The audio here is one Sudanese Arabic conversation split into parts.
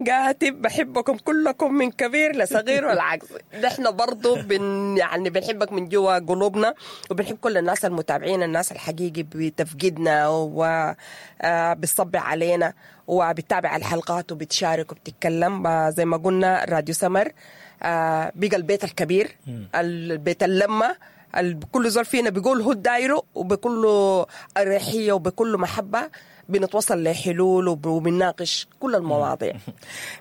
كاتب بحبكم كلكم من كبير لصغير والعكس. نحن برضو يعني بنحبك من جوا قلوبنا، وبنحب كل الناس المتابعين، الناس الحقيقي بتفقدنا وبتصبح علينا وبتتابع الحلقات وبتشارك وبتتكلم. زي ما قلنا راديو سمر بقى البيت الكبير، البيت اللمة، كل زول فينا بيقول هو دايرة، وبكل أريحية وبكل محبة بنتوصل لحلول وبنناقش كل المواضيع.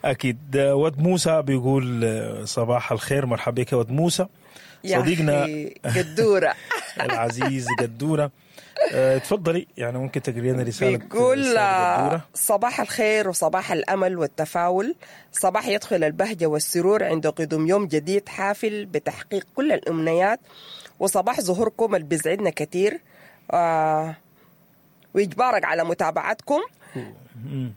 أكيد. ود موسى بيقول صباح الخير، مرحبا بك يا ود موسى صديقنا قدورة العزيز قدورة. تفضلي، يعني ممكن تقري لنا رسالة. بيقول صباح الخير وصباح الأمل والتفاؤل، صباح يدخل البهجة والسرور عند قدوم يوم جديد حافل بتحقيق كل الأمنيات، وصباح ظهوركم اللي بيسعدنا كثير ويجبرك على متابعتكم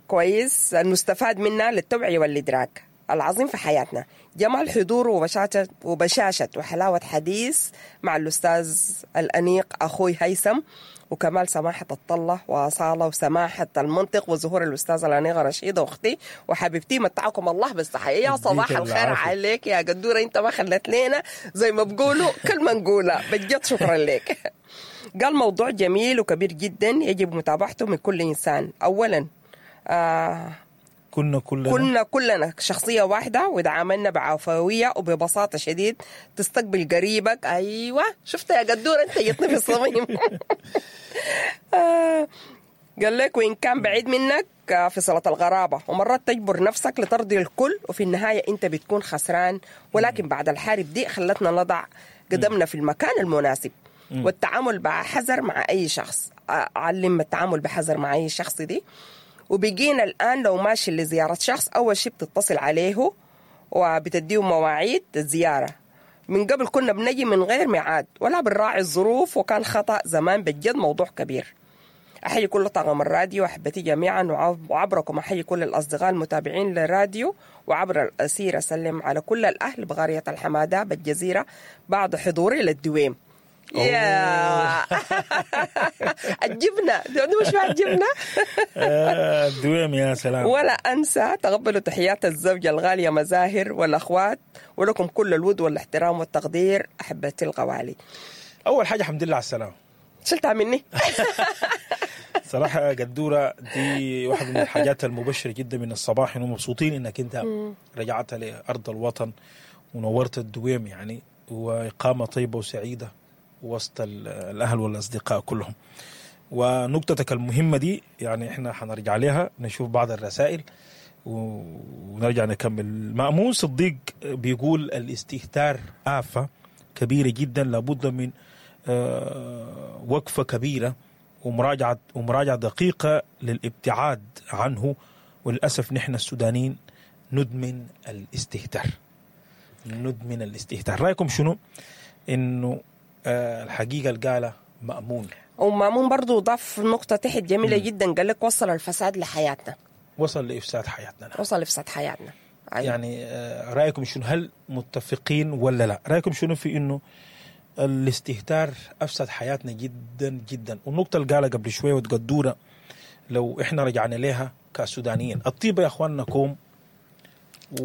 كويس المستفاد منها للتوعية والإدراك العظيم في حياتنا. جمال حضوره وبشاشة وحلاوة حديث مع الأستاذ الأنيق أخوي هيثم، وكمال سماحة الطلة وأصالة وسماحة المنطق، وظهور الأستاذ الأنيقة رشيدة أختي وحبيبتي، متعكم الله بالصحة. يا صباح الخير عليك يا قدورة، أنت ما خلت لنا زي ما بقولوا كلمة نقولها بجد، شكرا لك. قال موضوع جميل وكبير جدا يجب متابعته من كل إنسان. أولا كنا كلنا شخصية واحدة، وتعاملنا بعفوية وببساطة شديد، تستقبل قريبك. أيوة شفت يا قدورة أنت جتني في الصميم. قال لك وإن كان بعيد منك في صلة الغرابة، ومرات تجبر نفسك لترضي الكل، وفي النهاية أنت بتكون خسران. ولكن بعد الحرب دي خلتنا نضع قدمنا في المكان المناسب، والتعامل بحذر مع أي شخص. علم التعامل بحذر مع أي شخص دي. وبقينا الآن لو ماشي لزيارة شخص أول شيء بتتصل عليه وبتديه مواعيد الزيارة. من قبل كنا بنجي من غير ميعاد ولا بنراعي الظروف، وكان خطأ زمان بجد موضوع كبير. أحيي كل طاقم الراديو أحبتي جميعا، وعبركم أحيي كل الأصدقاء المتابعين للراديو، وعبر الأسير أسلم على كل الأهل بغارية الحمادة بالجزيرة بعد حضوري للدويم. يا الجبنة دي مش مع الجبنة. الدويم يا سلام. ولا أنسى تقبلوا تحيات الزوجة الغالية مزاهر والأخوات، ولكم كل الود والاحترام والتقدير أحبتي الغوالي. أول حاجة الحمد لله على السلامة. شلتها مني. صراحة قدورة دي واحدة من الحاجات المبشرة جدا من الصباح، إنه مبسوطين إنك أنت رجعت لأرض الوطن ونورت الدويم يعني، وإقامة طيبة وسعيدة وسط الأهل والأصدقاء كلهم. ونقطتك المهمة دي يعني إحنا حنرجع لها، نشوف بعض الرسائل ونرجع نكمل. مأمون صديق بيقول الاستهتار آفة كبيرة جدا، لابد من وقفة كبيرة ومراجعة دقيقة للابتعاد عنه، وللأسف نحن السودانيين ندمن الاستهتار. ندمن الاستهتار. رأيكم شنو؟ إنه الحقيقة القالة مأمون، ومأمون برضو ضاف نقطة تحت جميلة جدا، قال لك وصل الفساد لحياتنا، وصل لإفساد حياتنا. وصل لإفساد حياتنا. أيوة. يعني رأيكم شنو؟ هل متفقين ولا لا؟ رأيكم شنو في إنه الاستهتار أفسد حياتنا جدا جدا؟ والنقطة اللي قالها قبل شوية وتقدورة لو إحنا رجعنا لها كسودانيين، الطيبة يا أخواننا كوم،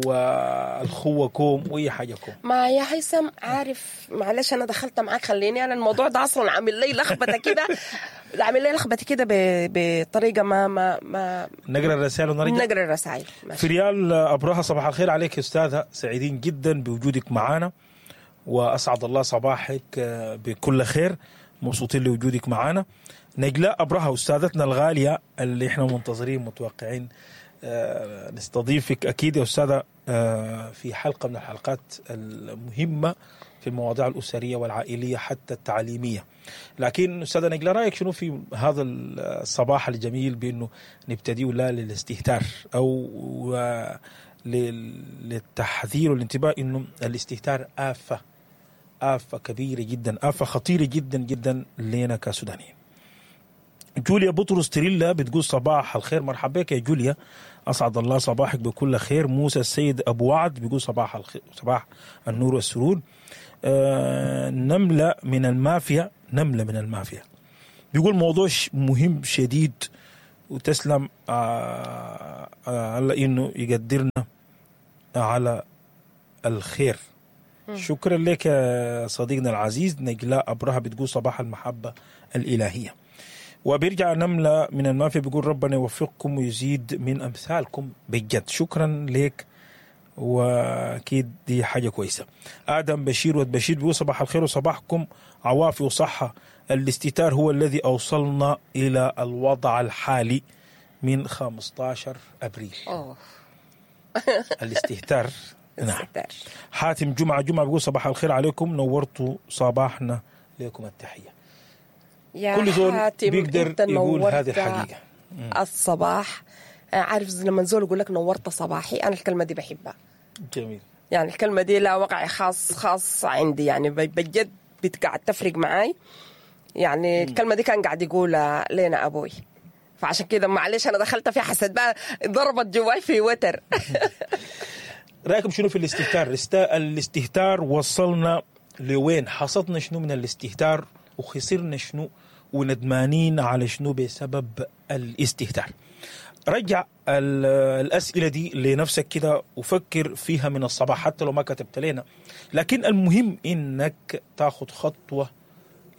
والخوة كوم، وأي حاجة كوم. ما يا هيثم عارف، معلش أنا دخلت معاك، خليني أنا الموضوع ده أصلا عامل لي لخبطة كده، عامل لي لخبطة كده بطريقة ما ما ما نقرأ الرسائل ونرجع. نقرأ الرسائل. فريال أبرهة صباح الخير عليك يا أستاذة، سعيدين جدا بوجودك معانا، وأسعد الله صباحك بكل خير، مبسوطين لوجودك معانا. نجلاء أبرهة أستاذتنا الغالية اللي احنا منتظرين متوقعين نستضيفك أكيد يا أستاذة في حلقة من الحلقات المهمة في المواضيع الأسرية والعائلية حتى التعليمية. لكن أستاذة نجلاء، رأيك شنو في هذا الصباح الجميل بأنه نبتدي لا للاستهتار أو للتحذير والانتباه أنه الاستهتار آفة، آفة كبيرة جدا، آفة خطيرة جدا جدا لنا كسودانيين. جوليا بطرس تريلا بتقول صباح الخير، مرحبا بك يا جوليا، أسعد الله صباحك بكل خير. موسى السيد أبو وعد بيقول صباح الخير، صباح النور والسرور. نملة من المافيا، نملة من المافيا بيقول موضوع مهم شديد وتسلم على انه يقدرنا على الخير. شكرا لك يا صديقنا العزيز نجلاء أبرهة، بتقول صباح المحبة الإلهية. وبيرجع نملة من المافيا بيقول ربنا يوفقكم ويزيد من أمثالكم بجد. شكرا لك، واكيد دي حاجة كويسة. ادم بشير ود بشير بيقول صباح الخير وصباحكم عوافي وصحة. الاستتار هو الذي اوصلنا الى الوضع الحالي من 15 ابريل. أوه. الاستهتار. نعم. الاستهتار. حاتم جمعه جمعه بيقول صباح الخير عليكم، نورتوا صباحنا، لكم التحية. يا كل زول حاتم، بيقدر أنت يقول نورت هذه الحقيقة. الصباح. عارف لما زول يقول لك نورت صباحي، انا الكلمة دي بحبها. جميل. يعني الكلمة دي لا وقع خاص عندي، يعني بجد بتقعد تفرق معاي. يعني الكلمة دي كان قاعد يقولها لنا ابوي، فعشان كده معلش انا دخلت فيها، حسيت بقى ضربت جواي في وتر. رايكم شنو في الاستهتار؟ الاستهتار وصلنا لوين؟ حصدنا شنو من الاستهتار وخسرنا شنو وندمانين على شنو بسبب الاستهتار؟ رجع الأسئلة دي لنفسك كده وفكر فيها من الصباح حتى لو ما كتبت لنا، لكن المهم إنك تاخد خطوة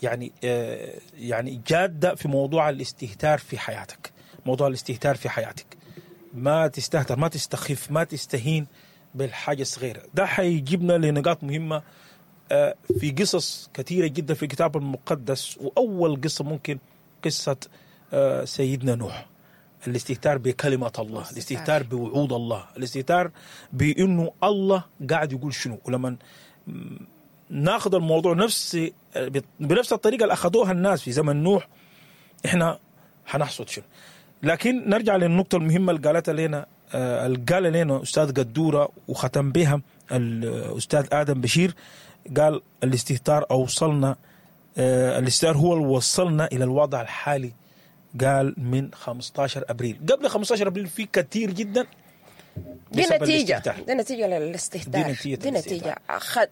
يعني جادة في موضوع الاستهتار في حياتك. موضوع الاستهتار في حياتك، ما تستهتر، ما تستخف، ما تستهين بالحاجة الصغيرة. ده حيجيبنا لنقاط مهمة في قصص كثيرة جدا في الكتاب المقدس، وأول قصة ممكن قصة سيدنا نوح. الاستهتار بكلمة الله، الاستهتار بوعود الله، الاستهتار بأنه الله قاعد يقول شنو. ولما ناخذ الموضوع بنفس الطريقة اللي أخذوها الناس في زمن نوح، إحنا حنحصد شنو. لكن نرجع للنقطة المهمة اللي قالتها لنا اللي قال لنا أستاذ قدورة وختم بها الأستاذ آدم بشير. قال الاستهتار أوصلنا، الاستهتار هو اللي وصلنا إلى الوضع الحالي. قال من 15 أبريل، قبل 15 أبريل في كثير جدا دي بسبب نتيجة، الاستهتار. دي نتيجة للاستهتار، دي نتيجة دي نتيجة.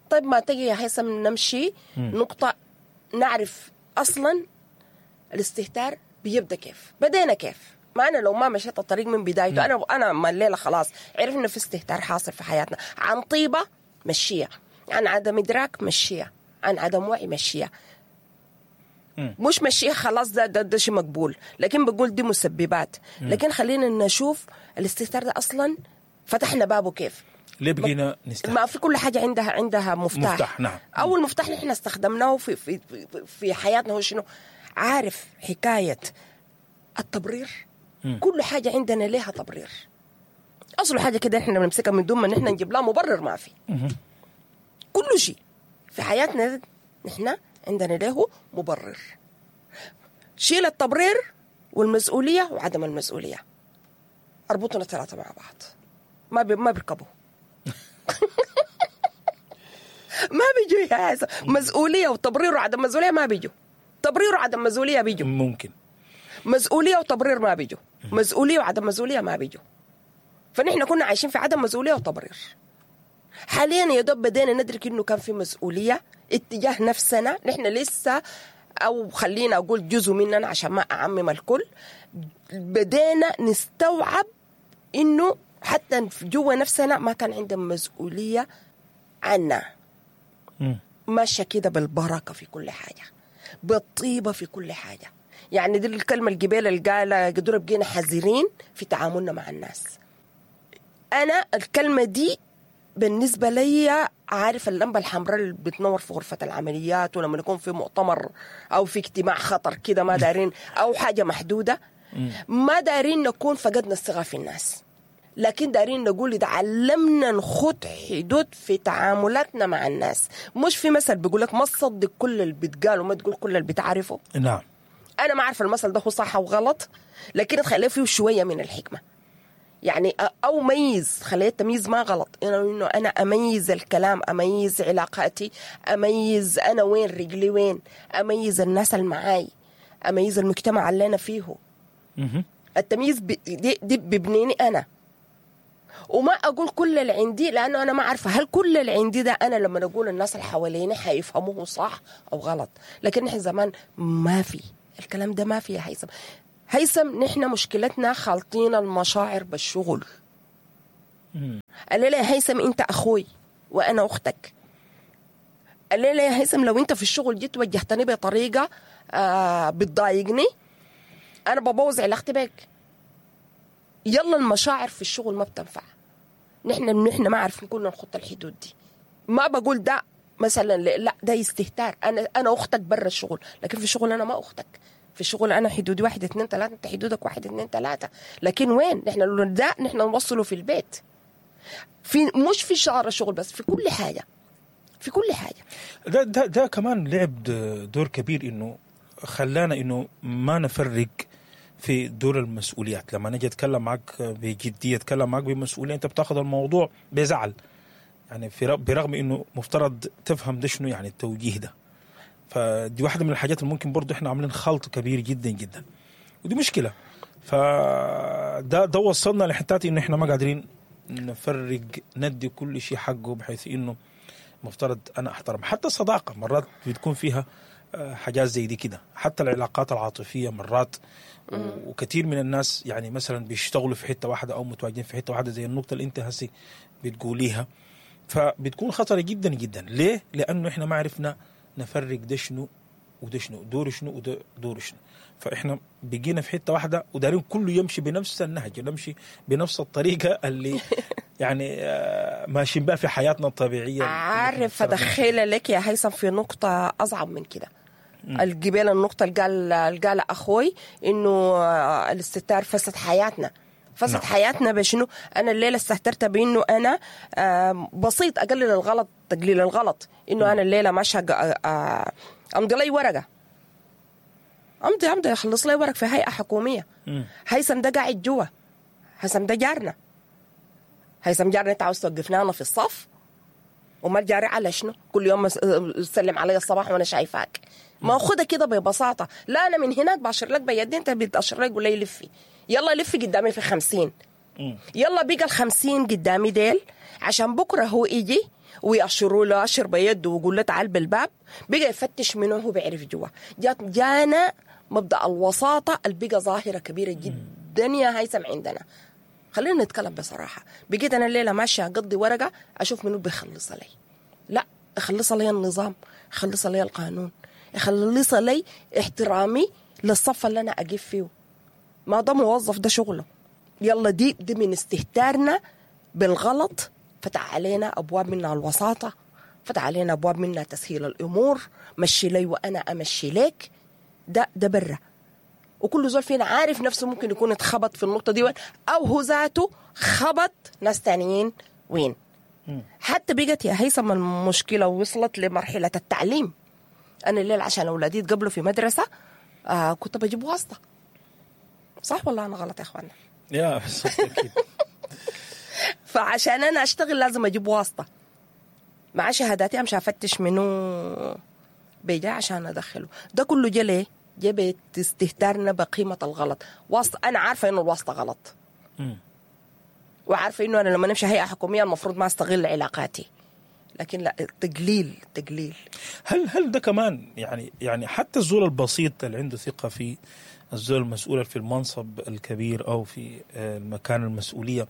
طيب ما تجي يا هيثم نمشي نقطة نعرف أصلا الاستهتار بيبدأ كيف، بدينا كيف. ما أنا لو ما مشيت الطريق من بدايته، أنا ما الليلة خلاص عرفنا في استهتار حاصل في حياتنا، عن طيبة مشية، عن عدم إدراك مشية، عن عدم وعي مشية. مش مشية خلاص ده شيء مقبول، لكن بقول دي مسببات. لكن خلينا نشوف الاستهتار ده أصلا فتحنا بابه كيف، ليه بقينا نستهتر؟ ما في كل حاجة عندها مفتاح. مفتاح، نعم. أول مفتاح نحن استخدمناه في في في حياتنا هو شنو؟ عارف حكاية التبرير. كل حاجة عندنا لها تبرير. أصل حاجة كده إحنا بنمسكها من دون ما نحن نجيب لها مبرر، ما في. كل شيء في حياتنا نحن عندنا له مبرر. شيل التبرير والمسؤولية وعدم المسؤولية، اربطنا الثلاثة مع بعض، ما بيركبوا. ما بيجوا يا هذا. مسؤولية وتبرير وعدم مسؤولية ما بيجوا. تبرير وعدم مسؤولية بيجوا. ممكن مسؤولية وتبرير ما بيجوا. مسؤولية وعدم مسؤولية ما بيجوا. فنحن كنا عايشين في عدم مسؤولية وتبرير. حاليا يا دوب بدينا ندرك انه كان في مسؤولية اتجاه نفسنا. نحن لسه، او خلينا اقول جزء مننا عشان ما اعمم الكل، بدينا نستوعب انه حتى جوا نفسنا ما كان عندنا مسؤولية عنا. ماشية كده بالبركة في كل حاجة، بالطيبة في كل حاجة. يعني دي الكلمة الجبال اللي قالها قدروا بقينا حذرين في تعاملنا مع الناس. أنا الكلمة دي بالنسبة لي، عارف اللمبة الحمراء اللي بتنور في غرفة العمليات، ولما نكون في مؤتمر أو في اجتماع خطر كده ما دارين، أو حاجة محدودة، ما دارين نكون فقدنا الثقة في الناس، لكن دارين نقول اتعلمنا نخوض حدود في تعاملاتنا مع الناس. مش في مثل بيقولك ما تصدق كل اللي بتقال وما تقول كل اللي بتعرفه. نعم. أنا ما أعرف المثل ده هو صح أو غلط، لكن تخليه فيه شوية من الحكمة. يعني أو ميز، خليه التمييز ما غلط، إنه أنا أميز الكلام، أميز علاقاتي، أميز أنا وين رجلي وين، أميز الناس اللي معاي، أميز المجتمع اللي أنا فيه. التمييز دي ببنيني أنا، وما أقول كل اللي عندي، لأنه أنا ما عارفة هل كل اللي عندي ده أنا لما أقول الناس اللي حواليني حيفهموه صح أو غلط. لكن نحن زمان ما في الكلام ده، ما في يا هيثم. هيثم نحن مشكلتنا خالطين المشاعر بالشغل. قال لي يا هيثم انت اخوي وانا اختك. قال لي يا هيثم لو انت في الشغل جيت وجهتني بطريقة بتضايقني انا ببوظ علاقتي بك. يلا المشاعر في الشغل ما بتنفع. نحن ما عارفين كلنا نخط الحدود دي. ما بقول ده مثلا لا ده استهتار، انا اختك برا الشغل، لكن في الشغل انا ما اختك. في الشغل انا حدودي 1 2 3، انت حدودك 1 2 3. لكن وين نحن ده؟ نحن نوصله في البيت، في مش في شعر الشغل بس، في كل حاجة، في كل حاجة. ده ده ده كمان لعب دور كبير، انه خلانا انه ما نفرق في دور المسؤوليات. لما نجي اتكلم معك بجدية، اتكلم معك بمسؤولية، انت بتاخذ الموضوع بزعل، يعني في برغم انه مفترض تفهم ده شنو يعني التوجيه ده. فدي واحدة من الحاجات اللي ممكن برضه احنا عاملين خلط كبير جدا جدا، ودي مشكلة. فده ده وصلنا لحتات انه احنا ما قادرين نفرق، ندي كل شيء حقه، بحيث انه مفترض انا احترم حتى الصداقة. مرات بتكون فيها حاجات زي دي كده، حتى العلاقات العاطفية مرات. وكثير من الناس يعني مثلا بيشتغلوا في حتة واحدة او متواجدين في حتة واحدة، زي النقطة اللي انت هسي بتقوليها، فبتكون خطره جدا جدا. ليه؟ لانه احنا ما عرفنا نفرق ده شنو وده شنو، دور شنو وده دور شنو. فاحنا بقينا في حتة واحدة ودارين كله يمشي بنفس النهج، نمشي بنفس الطريقة اللي يعني ماشيين بها في حياتنا الطبيعية. عارف ادخل لك يا هيثم في نقطة اصعب من كده. الجبال، النقطة اللي قال اخوي انه الاستهتار فسد حياتنا. فسد نعم. حياتنا بشنو؟ انا الليلة استهترت بانه انا بسيط اقلل الغلط، تقليل الغلط، انه انا الليلة ماشية امضي لي ورقة، امضي اخلص لي ورق في هيئة حكومية. هيثم ده قاعد جوا، هيثم ده جارنا، هيثم جارنا، انت عاوز توقفنا انا في الصف؟ وما جاري على شنو؟ كل يوم تسلم علي الصباح وانا شايفاك. ما خدها كده ببساطة. لا انا من هناك باشر لك بيدي، انت بتاشر لك ولا لفي، يلا لفي قدامي في 50، يلا بقى 50 قدامي ديل، عشان بكره هو يجي ويأشروا له أشر بيده ويقول له تعال بالباب، بقى يفتش منه هو بيعرف جوا. جانا مبدأ الوساطة اللي بقى ظاهرة كبيرة جدا يا هيثم عندنا. خلينا نتكلم بصراحة. بقيت أنا الليلة ماشية أقضي ورقة أشوف منو بيخلصها لي. لا، أخلصها لي النظام، أخلصها لي القانون، أخلصها لي احترامي للصف اللي أنا أقف فيه. ما ده موظف، ده شغله. يلا دي من استهتارنا بالغلط فتح علينا أبواب منها الوساطة، فتح علينا أبواب منها تسهيل الأمور، مشي لي وأنا أمشي لك. ده برا، وكل زول فينا عارف نفسه ممكن يكون اتخبط في النقطة دي وين، أو هو ذاته خبط ناس تانيين وين. حتى بقت يا هيثم المشكلة وصلت لمرحلة التعليم. أنا الليل عشان أولادي يتقبلوا في مدرسة كنت بجيب واسطة. صح ولا أنا غلط يا أخوانا؟ يا أكيد. فعشان أنا أشتغل لازم أجيب واسطة مع شهاداتي، أمشي أفتش منه بيجا عشان أدخله. ده كله جا ليه؟ جا استهتارنا بقيمة الغلط. واسطة، أنا عارفة إنه الواسطة غلط، وعارفة إنه أنا لما نمشي هيئة حكومية المفروض ما أستغل علاقاتي، لكن لا، تقليل. هل ده كمان يعني حتى الزول البسيط اللي عنده ثقة في الزول المسؤول في المنصب الكبير أو في المكان المسؤولية،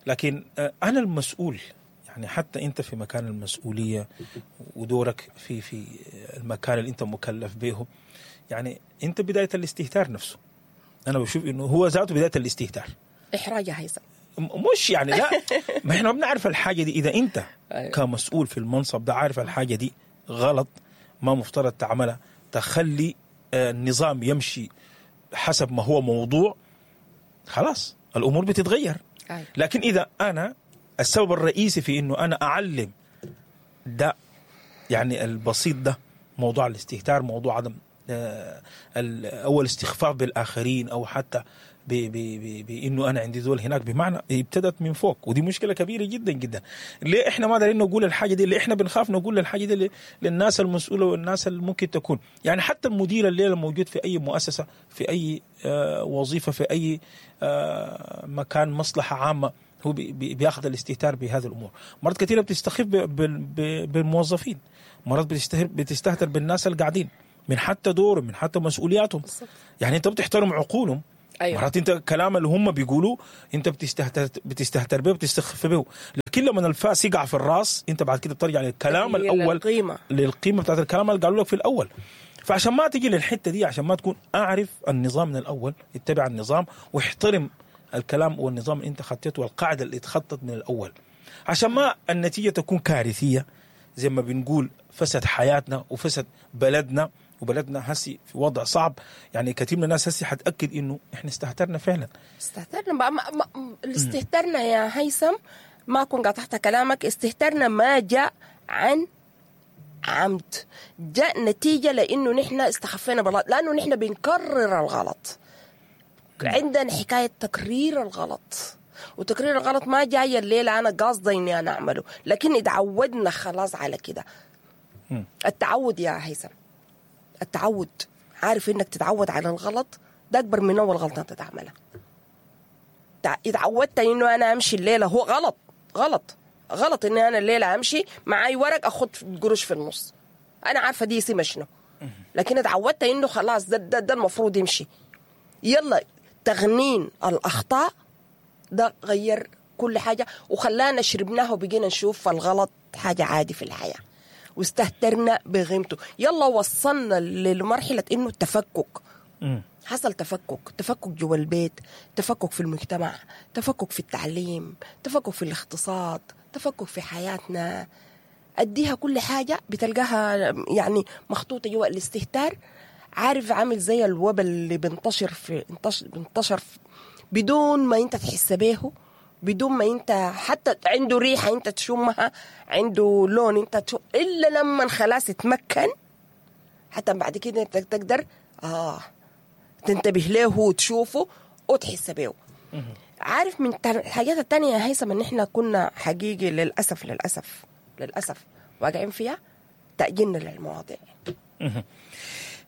لكن أنا المسؤول، يعني حتى أنت في مكان المسؤولية ودورك في المكان اللي أنت مكلف به، يعني أنت بداية الاستهتار نفسه. أنا بشوف إنه هو ذاته بداية الاستهتار. إحراج يا هيثم. مش يعني لا، ما إحنا بنعرف الحاجة دي. إذا أنت كمسؤول في المنصب ده عارف الحاجة دي غلط، ما مفترض تعملها، تخلي النظام يمشي حسب ما هو موضوع، خلاص الأمور بتتغير. لكن إذا أنا السبب الرئيسي في إنه أنا أعلم ده، يعني البسيط ده، موضوع الاستهتار، موضوع عدم أول استخفاف بالآخرين، أو حتى بإنه أنا عندي ذول هناك، بمعنى ابتدت من فوق، ودي مشكلة كبيرة جدا جدا. ليه إحنا ما دارين نقول الحاجة دي؟ ليه إحنا بنخاف نقول الحاجة دي للناس المسؤولة والناس اللي ممكن تكون، يعني حتى المدير الليلة موجود في أي مؤسسة، في أي وظيفة، في أي مكان مصلحة عامة، هو بياخذ الاستهتار بهذه الأمور. مرات كثيرة بتستخف بالموظفين، مرات بتستهتر بالناس اللي قاعدين، من حتى دورهم، من حتى مسؤولياتهم. يعني أنت بتحترم عقولهم، أيوة. مرات انت الكلام اللي هم بيقولوه انت بتستهتر به وبتستخف به، لكن لما الفاس يقع في الراس انت بعد كده بترجع للكلام الاول، للقيمة بتاعت الكلام اللي قالوا لك في الاول. فعشان ما تجي للحتة دي، عشان ما تكون، اعرف النظام من الاول، اتبع النظام واحترم الكلام والنظام اللي انت خطيته والقاعدة اللي اتخطت من الاول، عشان ما النتيجة تكون كارثية زي ما بنقول، فسد حياتنا وفسد بلدنا، وبلدنا هسي في وضع صعب. يعني كثير من الناس هسي حتأكد انه احنا استهترنا فعلا. استهترنا بقى استهترنا يا هيثم، ما كنت قطعت كلامك. استهترنا ما جاء عن عمد، جاء نتيجة لأنه نحن استخفينا بالغلط، لأنه نحن بنكرر الغلط. عندنا حكاية تكرير الغلط، وتكرير الغلط ما جاي الليلة أنا قاصدة إني أنا أعمله، لكن اتعودنا خلاص على كده. التعود يا هيثم، التعود، عارف إنك تتعود على الغلط ده أكبر من أول غلطة أنت تعملها. اتعودت إنه أنا أمشي الليلة، هو غلط غلط غلط إني أنا الليلة أمشي معاي ورق أخد قروش في النص، أنا عارفة دي اسمها شنو، لكن اتعودت إنه خلاص ده المفروض يمشي. يلا تغنين الأخطاء ده غير كل حاجة، وخلانا شربناه وبقينا نشوف الغلط حاجة عادي في الحياة، واستهترنا بغيمته. يلا وصلنا لمرحلة إنه التفكك حصل، تفكك جوا البيت، تفكك في المجتمع، تفكك في التعليم، تفكك في الاقتصاد، تفكك في حياتنا. أديها كل حاجة بتلقاها يعني مخطوطة جوا الاستهتار. عارف عامل زي الوبا اللي بنتشر في بدون ما انت تحس بيه، بدون ما انت حتى عنده ريحة انت تشمها، عنده لون انت تشم، إلا لما خلاص تمكن، حتى بعد كده انت تقدر تنتبه له وتشوفه وتحس بيه. عارف من الحاجات التانية يا هيثم ان احنا كنا حقيقي للأسف للأسف للأسف واقعين فيها تأجيلنا للمواضيع.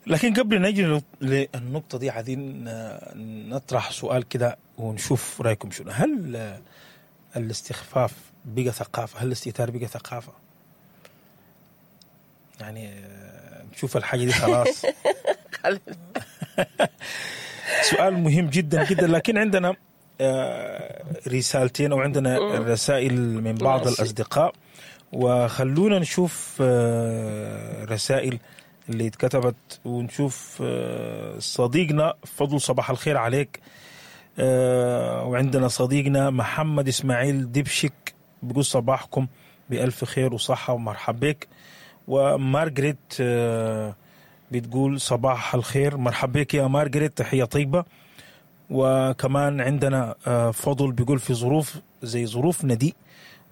لكن قبل نجي للنقطة دي عايزين نطرح سؤال كده ونشوف رأيكم شنو. هل الاستخفاف بقى ثقافة؟ هل الاستهتار بقى ثقافة؟ يعني نشوف الحاجة دي خلاص. سؤال مهم جدا جدا. لكن عندنا رسالتين أو عندنا رسائل من بعض الأصدقاء، وخلونا نشوف رسائل اللي اتكتبت ونشوف. صديقنا فضل صباح الخير عليك. وعندنا صديقنا محمد إسماعيل دبشك بيقول صباحكم بألف خير وصحة ومرحب بك. ومارغريت بتقول صباح الخير، مرحب بك يا مارغريت، تحية طيبة. وكمان عندنا فضل بيقول في ظروف زي ظروفنا دي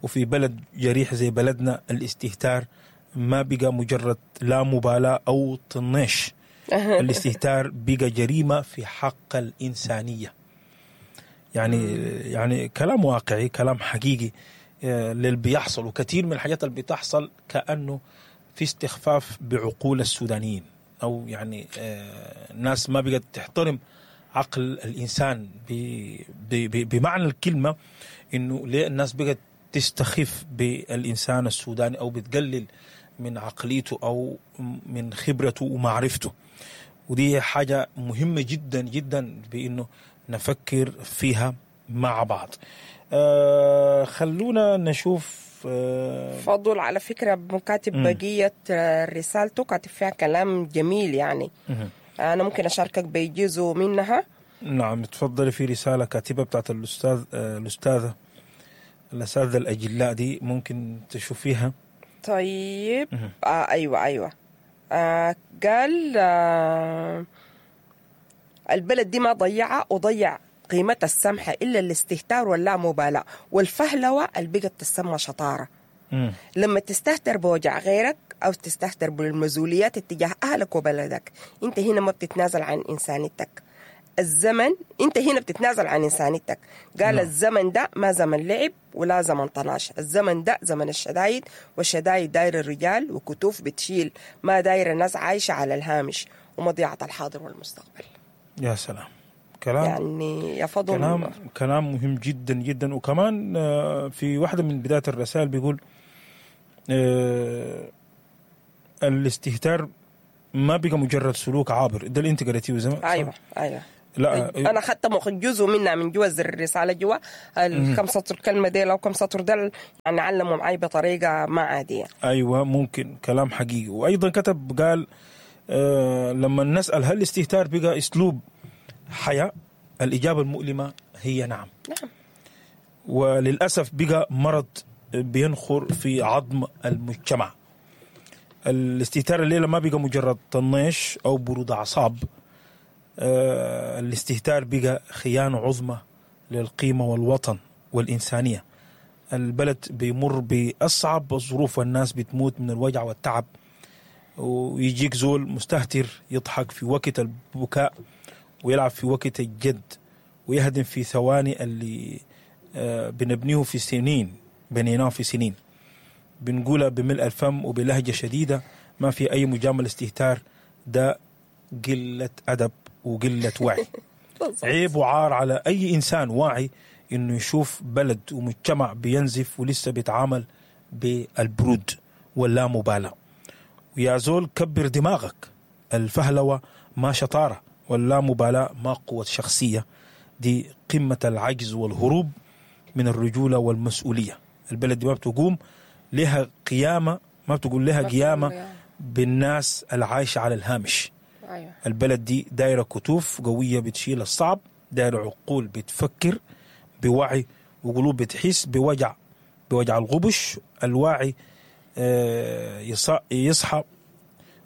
وفي بلد جريح زي بلدنا الاستهتار ما بقى مجرد لا مبالاة أو طناش، الاستهتار بقى جريمة في حق الإنسانية. يعني كلام واقعي، كلام حقيقي للي بيحصل، وكثير من الحاجات اللي بتحصل كأنه في استخفاف بعقول السودانيين، أو يعني ناس ما بقت تحترم عقل الإنسان بمعنى الكلمة. إنه ليه الناس بقت تستخف بالإنسان السوداني أو بتقلل من عقليته أو من خبرته ومعرفته؟ ودي حاجة مهمة جدا جدا بأنه نفكر فيها مع بعض. خلونا نشوف. فضل على فكرة كاتب بقية رسالته، كاتب فيها كلام جميل يعني. أنا ممكن أشاركك بجزء منها. نعم تفضلي. في رسالة كاتبة بتاعت الأستاذة الأساتذة الأجلاء دي، ممكن تشوفيها. طيب. أيوة. قال البلد دي ما ضيعها وضيع قيمتها السمحة إلا الاستهتار واللامبالاة والفهلوة اللي بقت تسمى شطارة. لما تستهتر بوجع غيرك أو تستهتر بالمزوليات اتجاه أهلك وبلدك، أنت هنا ما بتتنازل عن إنسانيتك. الزمن أنت هنا بتتنازل عن إنسانيتك. قال الزمن ده ما زمن لعب ولا زمن طناش، الزمن ده زمن الشدايد، والشدايد داير الرجال وكتوف بتشيل، ما داير الناس عايشة على الهامش ومضيعة الحاضر والمستقبل. يا سلام، كلام يعني يا فضل، كلام مهم جدا جدا. وكمان في واحدة من بداية الرسائل بيقول الاستهتار ما بقى مجرد سلوك عابر. ده اللي انت قريتيه زمان. ايوه. لا انا اخذت جزء منها من جوا الرسالة جوا الكم سطر كلمة ديل او كم سطر ديل، يعني علموا معي بطريقة ما عادية. ايوه ممكن كلام حقيقي. وايضا كتب قال لما نسال هل الاستهتار بقى اسلوب حياة، الاجابة المؤلمة هي نعم. نعم. وللاسف بقى مرض بينخر في عظم المجتمع. الاستهتار الليلة ما بقى مجرد طنيش او برود اعصاب، الاستهتار بقى خيانة عظمى للقيمة والوطن والإنسانية. البلد بيمر بأصعب الظروف والناس بتموت من الوجع والتعب، ويجيك زول مستهتر يضحك في وقت البكاء ويلعب في وقت الجد ويهدم في ثواني اللي بنبنيه في سنين، بنيناه في سنين. بنقولها بملء الفم وبلهجة شديدة، ما في أي مجاملة. استهتار ده قلة أدب وقلة وعي. عيب وعار على أي إنسان واعي إنه يشوف بلد ومجتمع بينزف ولسه بيتعامل بالبرود واللا مبالاة. ويا زول كبر دماغك، الفهلوة ما شطارة واللا مبالاة ما قوة شخصية، دي قمة العجز والهروب من الرجولة والمسؤولية. البلد دي ما بتقوم لها قيامة، ما بتقول لها قيامة بالناس العايشة على الهامش. أيوة. البلد دي دايرة كتوف قوية بتشيل الصعب، دايرة عقول بتفكر بوعي وقلوب بتحس بوجع الغبش. الواعي يصحى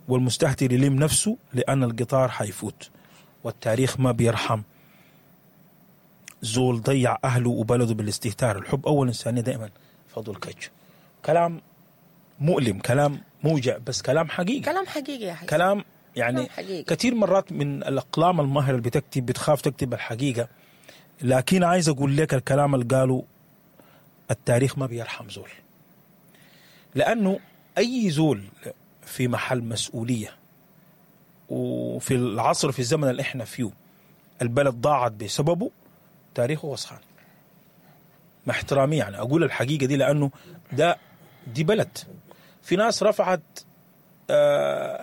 والمستهتر يلم نفسه، لأن القطار حيفوت والتاريخ ما بيرحم زول ضيع أهله وبلده بالاستهتار. الحب أول إنسانية دائما فضل كج. كلام مؤلم، كلام موجع، بس كلام حقيقي. كلام حقيقي يا حقيقي. كلام يعني كثير مرات من الأقلام الماهرة اللي بتكتب بتخاف تكتب الحقيقة، لكن عايز أقول لك الكلام اللي قاله التاريخ ما بيرحم زول، لأنه أي زول في محل مسؤولية وفي العصر في الزمن اللي احنا فيه البلد ضاعت بسببه، تاريخه وسخان. مع احترامي يعني أقول الحقيقة دي، لأنه ده دي بلد في ناس رفعت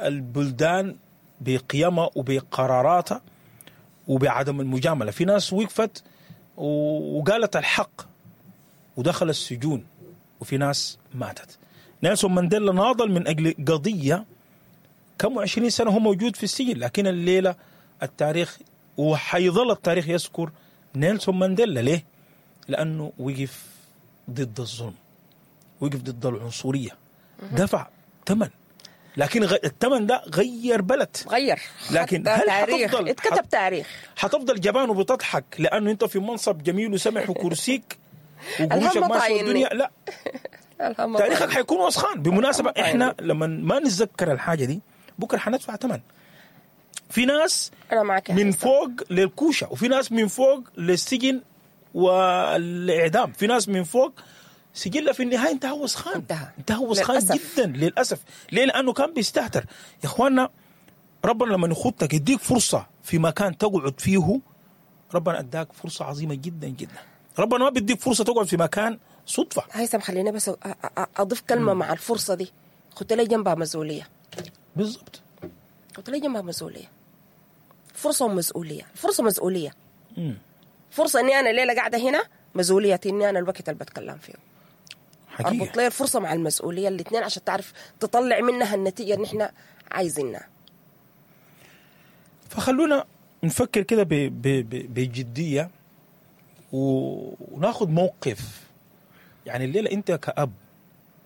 البلدان بقيمها وبقراراتها وبعدم المجاملة، في ناس وقفت وقالت الحق ودخل السجون، وفي ناس ماتت. نيلسون مانديلا ناضل من أجل قضية كم 20 سنة هو موجود في السجن، لكن الليلة التاريخ وحيظل التاريخ يذكر نيلسون مانديلا. ليه؟ لأنه وقف ضد الظلم، وقف ضد العنصرية، دفع ثمن، لكن الثمن ده غير بلد، غير. لكن هل حتفضل اتكتب تاريخ؟ حتفضل جبان وبتضحك لأنه أنت في منصب جميل وسمح وكرسيك وقروشك ماشية الدنيا؟ لا، تاريخك حيكون وسخان. بالمناسبة احنا لما ما نتذكر الحاجة دي بكرة حندفع ثمن. في ناس من فوق للكوشة، وفي ناس من فوق للسجن والإعدام، في ناس من فوق سجلة في النهاية انتهى وسخان، انتهى وسخان جدا للأسف. ليه؟ لأنه كان بيستهتر. يا إخواننا ربنا لما يخطك يديك فرصة في مكان تقعد فيه، ربنا أداك فرصة عظيمة جدا جدا. ربنا ما بيديك فرصة تقعد في مكان صدفة. هيثم خلينا بس أضيف كلمة مع الفرصة دي، خدت لي جنبها مسؤولية. بالضبط، خدت لي جنبها مسؤولية. فرصة ومسؤولية. الفرصة مسؤولية. فرصة إني أنا الليلة قاعدة هنا، مسؤولية إني أنا الوقت اللي بتكلم فيه. حقيقة. أربط لي الفرصة مع المسؤولية الاثنين عشان تعرف تطلع منها النتيجة اللي إحنا عايزينها. فخلونا نفكر كده بجدية وناخد موقف. يعني الليلة أنت كأب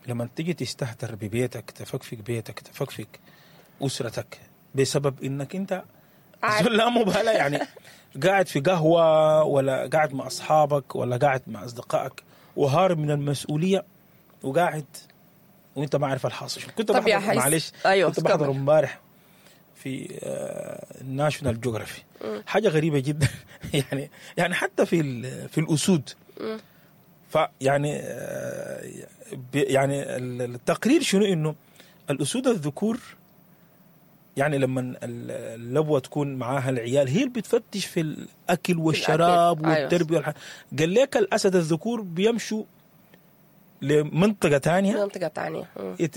لما تيجي تستهتر ببيتك، تفكفك بيتك، تفكفك أسرتك بسبب إنك أنت لا مبالاة، يعني قاعد في قهوة ولا قاعد مع أصحابك ولا قاعد مع أصدقائك وهارب من المسؤولية وقاعد وانت ما عارف الحاصل. كنت بحضر، معلش، أيوة، كنت بحضر امبارح في ناشونال جيوغرافي حاجة غريبة جدا. يعني حتى في الأسود، فيعني يعني التقرير شنو، انه الأسود الذكور يعني لما اللبوة تكون معاها العيال هي اللي بتفتش في الأكل والشراب والتربية. أيوة. قال لك الأسد الذكور بيمشوا لمنطقة تانية، منطقة تانية،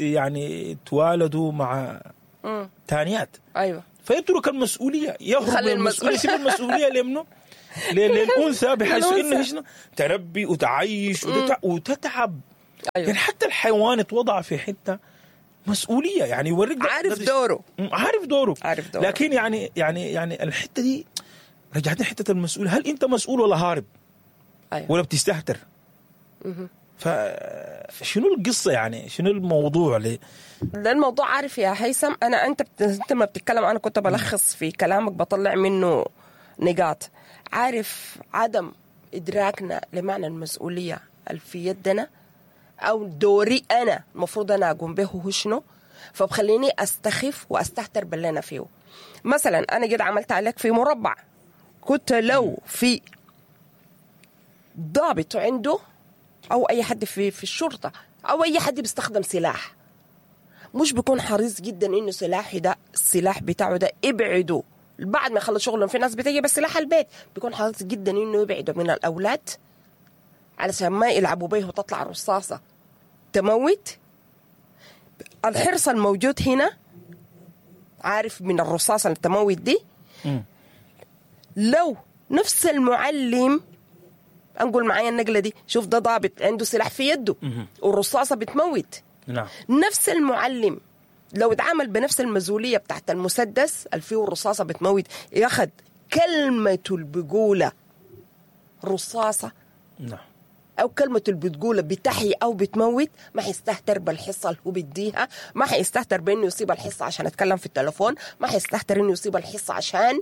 يعني توالدوا مع تانيات. أيوة. فيترك المسؤولية، يهرب من المسؤولية، يسيب المسؤولية لمنه؟ للانثى، بحيث انه شنو؟ تربي وتعيش وتتعب. أيوة. يعني حتى الحيوان اتوضع في حتة مسؤولية، يعني يوريك عارف دوره، عارف دوره، عارف دوره. لكن يعني يعني يعني الحتة دي رجعتني حتة المسؤولية، هل انت مسؤول ولا هارب؟ أيوة. ولا بتستهتر؟ فشنو القصة يعني؟ شنو الموضوع ليه؟ ده الموضوع عارف يا هيثم، انا انت ما بتتكلم، انا كنت بلخص في كلامك بطلع منه نقاط. عارف عدم ادراكنا لمعنى المسؤولية اللي في يدنا او دوري انا المفروض انا اقوم به هو شنو، فبخليني استخف واستهتر باللي انا فيه. مثلا انا جد عملت عليك في مربع، كنت لو في ضابط عنده او اي حد في الشرطة او اي حد بيستخدم سلاح، مش بيكون حريص جدا انه سلاحي ده، السلاح بتاعه ده ابعده بعد ما يخلص شغله. في ناس بتجي بس سلاح البيت، بيكون حريص جدا انه يبعده من الاولاد علشان ما يلعبوا بيه وتطلع رصاصة تموت. الحرص الموجود هنا عارف من الرصاصة اللي تموت دي، لو نفس المعلم انقل معايا النقلة دي، شوف ده ضابط عنده سلاح في يده والرصاصه بتموت. نعم. نفس المعلم لو اتعامل بنفس المسؤولية بتاعت المسدس اللي فيه الرصاصة بتموت، ياخد كلمته اللي بيقولها رصاصة، نعم، او كلمته اللي بتقولها بتحيي او بتموت، ما حيستهتر بالحصه اللي هو بيديها، ما حيستهتر بانه يصيب الحصة عشان اتكلم في التليفون، ما حيستهتر انه يصيب الحصة عشان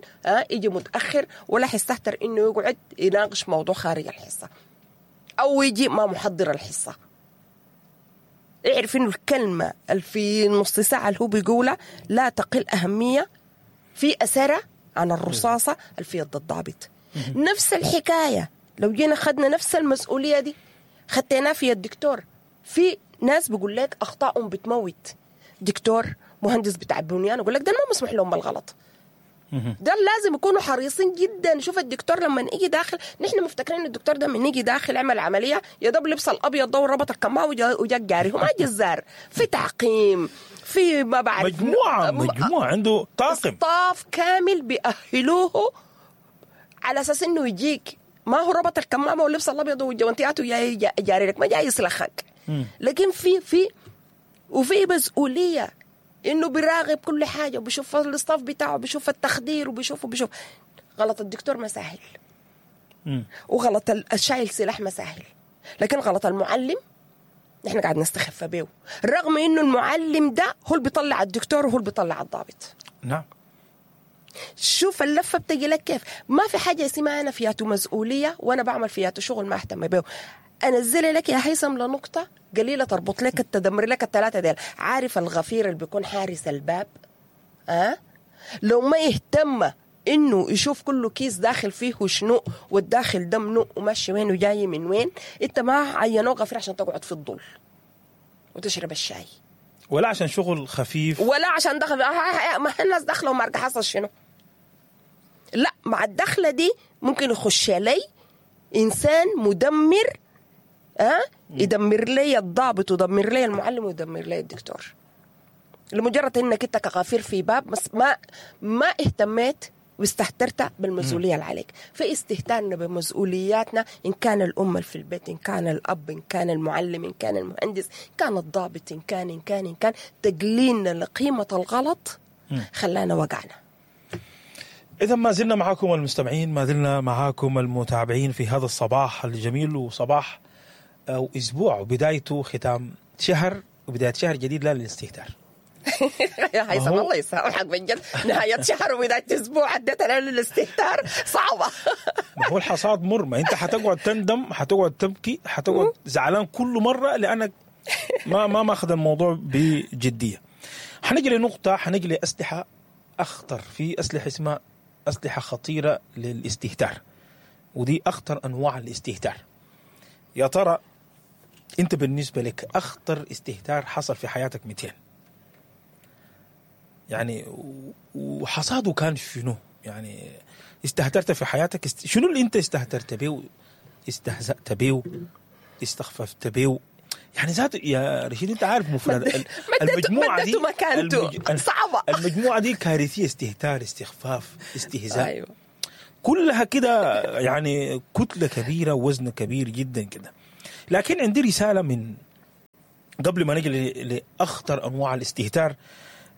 يجي متاخر، ولا حيستهتر انه يقعد يناقش موضوع خارج الحصة او يجي ما محضر الحصة. اعرف انه الكلمة اللي في نص ساعة اللي هو بيقولها لا تقل اهمية في اثرها عن الرصاصة اللي في يد الضابط. نفس الحكاية لو جينا خدنا نفس المسؤولية دي خدتناها في الدكتور. في ناس بيقول لك أخطائهم بتموت، دكتور، مهندس بتاع بنيان، يقول لك ده ما مسموح لهم بالغلط، ده لازم يكونوا حريصين جدا. شوف الدكتور لما يجي داخل، نحن مفتكرين الدكتور ده من يجي داخل عمل عملية يا دوب لبس الأبيض ده وربط الكمامة وجاك جاري، هو ما جزار، في تعقيم، في ما بعرف مجموعة عنده طاقم، staff كامل بيأهلوه على أساس إنه يجيك، ما هو ربط الكمامة واللبس الابيض والجوانتيات وجاي جاري لك، ما جاي يسلخك. لكن في وفي مسؤولية انه بيراقب كل حاجة وبيشوف ال staff بتاعه، بيشوف التخدير، وبيشوف غلط الدكتور ما سهل، وغلط الشايل سلاح ما سهل، لكن غلط المعلم نحن قاعد نستخف بيه، رغم انه المعلم ده هو اللي بيطلع الدكتور وهو اللي بيطلع الضابط. نعم. شوف اللفة بتجي لك كيف. ما في حاجة اسمها انا فياتو مسؤولية وانا بعمل فياتو شغل ما اهتم به. انزل لك يا هيثم لنقطة قليله تربط لك تدمر لك الثلاثة ديل. عارف الغفير اللي بيكون حارس الباب، لو ما يهتم انه يشوف كله كيس داخل فيه شنو والداخل ده منو وماشي وين وجاي من وين، انت ما عينوه غفير عشان تقعد في الظل وتشرب الشاي، ولا عشان شغل خفيف، ولا عشان دخل ما الناس داخله وما حصل شنو. لا، مع الدخلة دي ممكن يخش لي انسان مدمر، يدمر لي الضابط ويدمر لي المعلم ويدمر لي الدكتور، لمجرد انك انت كغفير في باب بس ما اهتميت واستهترت بالمسؤولية اللي عليك. فاستهتارنا بمسؤولياتنا، ان كان الام في البيت، ان كان الاب، ان كان المعلم، ان كان المهندس، ان كان الضابط، ان كان ان كان ان كان تقليلنا لقيمة الغلط خلانا وقعنا. إذا ما زلنا معاكم المستمعين، ما زلنا معاكم المتابعين في هذا الصباح الجميل، وصباح أو أسبوع وبدايته ختام شهر وبداية شهر جديد لا للاستهتار. يا هيثم الله يسامحك بجد، نهاية شهر وبداية أسبوع عدتنا للاستهتار صعبة. ما هو الحصاد مر، ما أنت حتقعد تندم، حتقعد تبكي، حتقعد زعلان كل مرة لأنك ما ماخذ الموضوع بجدية. حنجي لنقطة، حنجي لأسلحة أخطر، في أسلحة اسمها أسلحة خطيرة للاستهتار، ودي أخطر أنواع الاستهتار. يا ترى أنت بالنسبة لك أخطر استهتار حصل في حياتك 200؟ يعني وحصاده كان شنو؟ يعني استهترت في حياتك، شنو اللي أنت استهترت بيه، استهزأت بيه، استخففت بيه؟ يعني ذاته يا رشيد انت عارف مفرد المجموعة دي مكانته صعبة. المجموعة دي كارثية، استهتار، استخفاف، استهزاء. أيوة. كلها كده يعني كتلة كبيرة ووزن كبير جدا كده. لكن عندي رسالة من قبل ما نجي لاخطر انواع الاستهتار،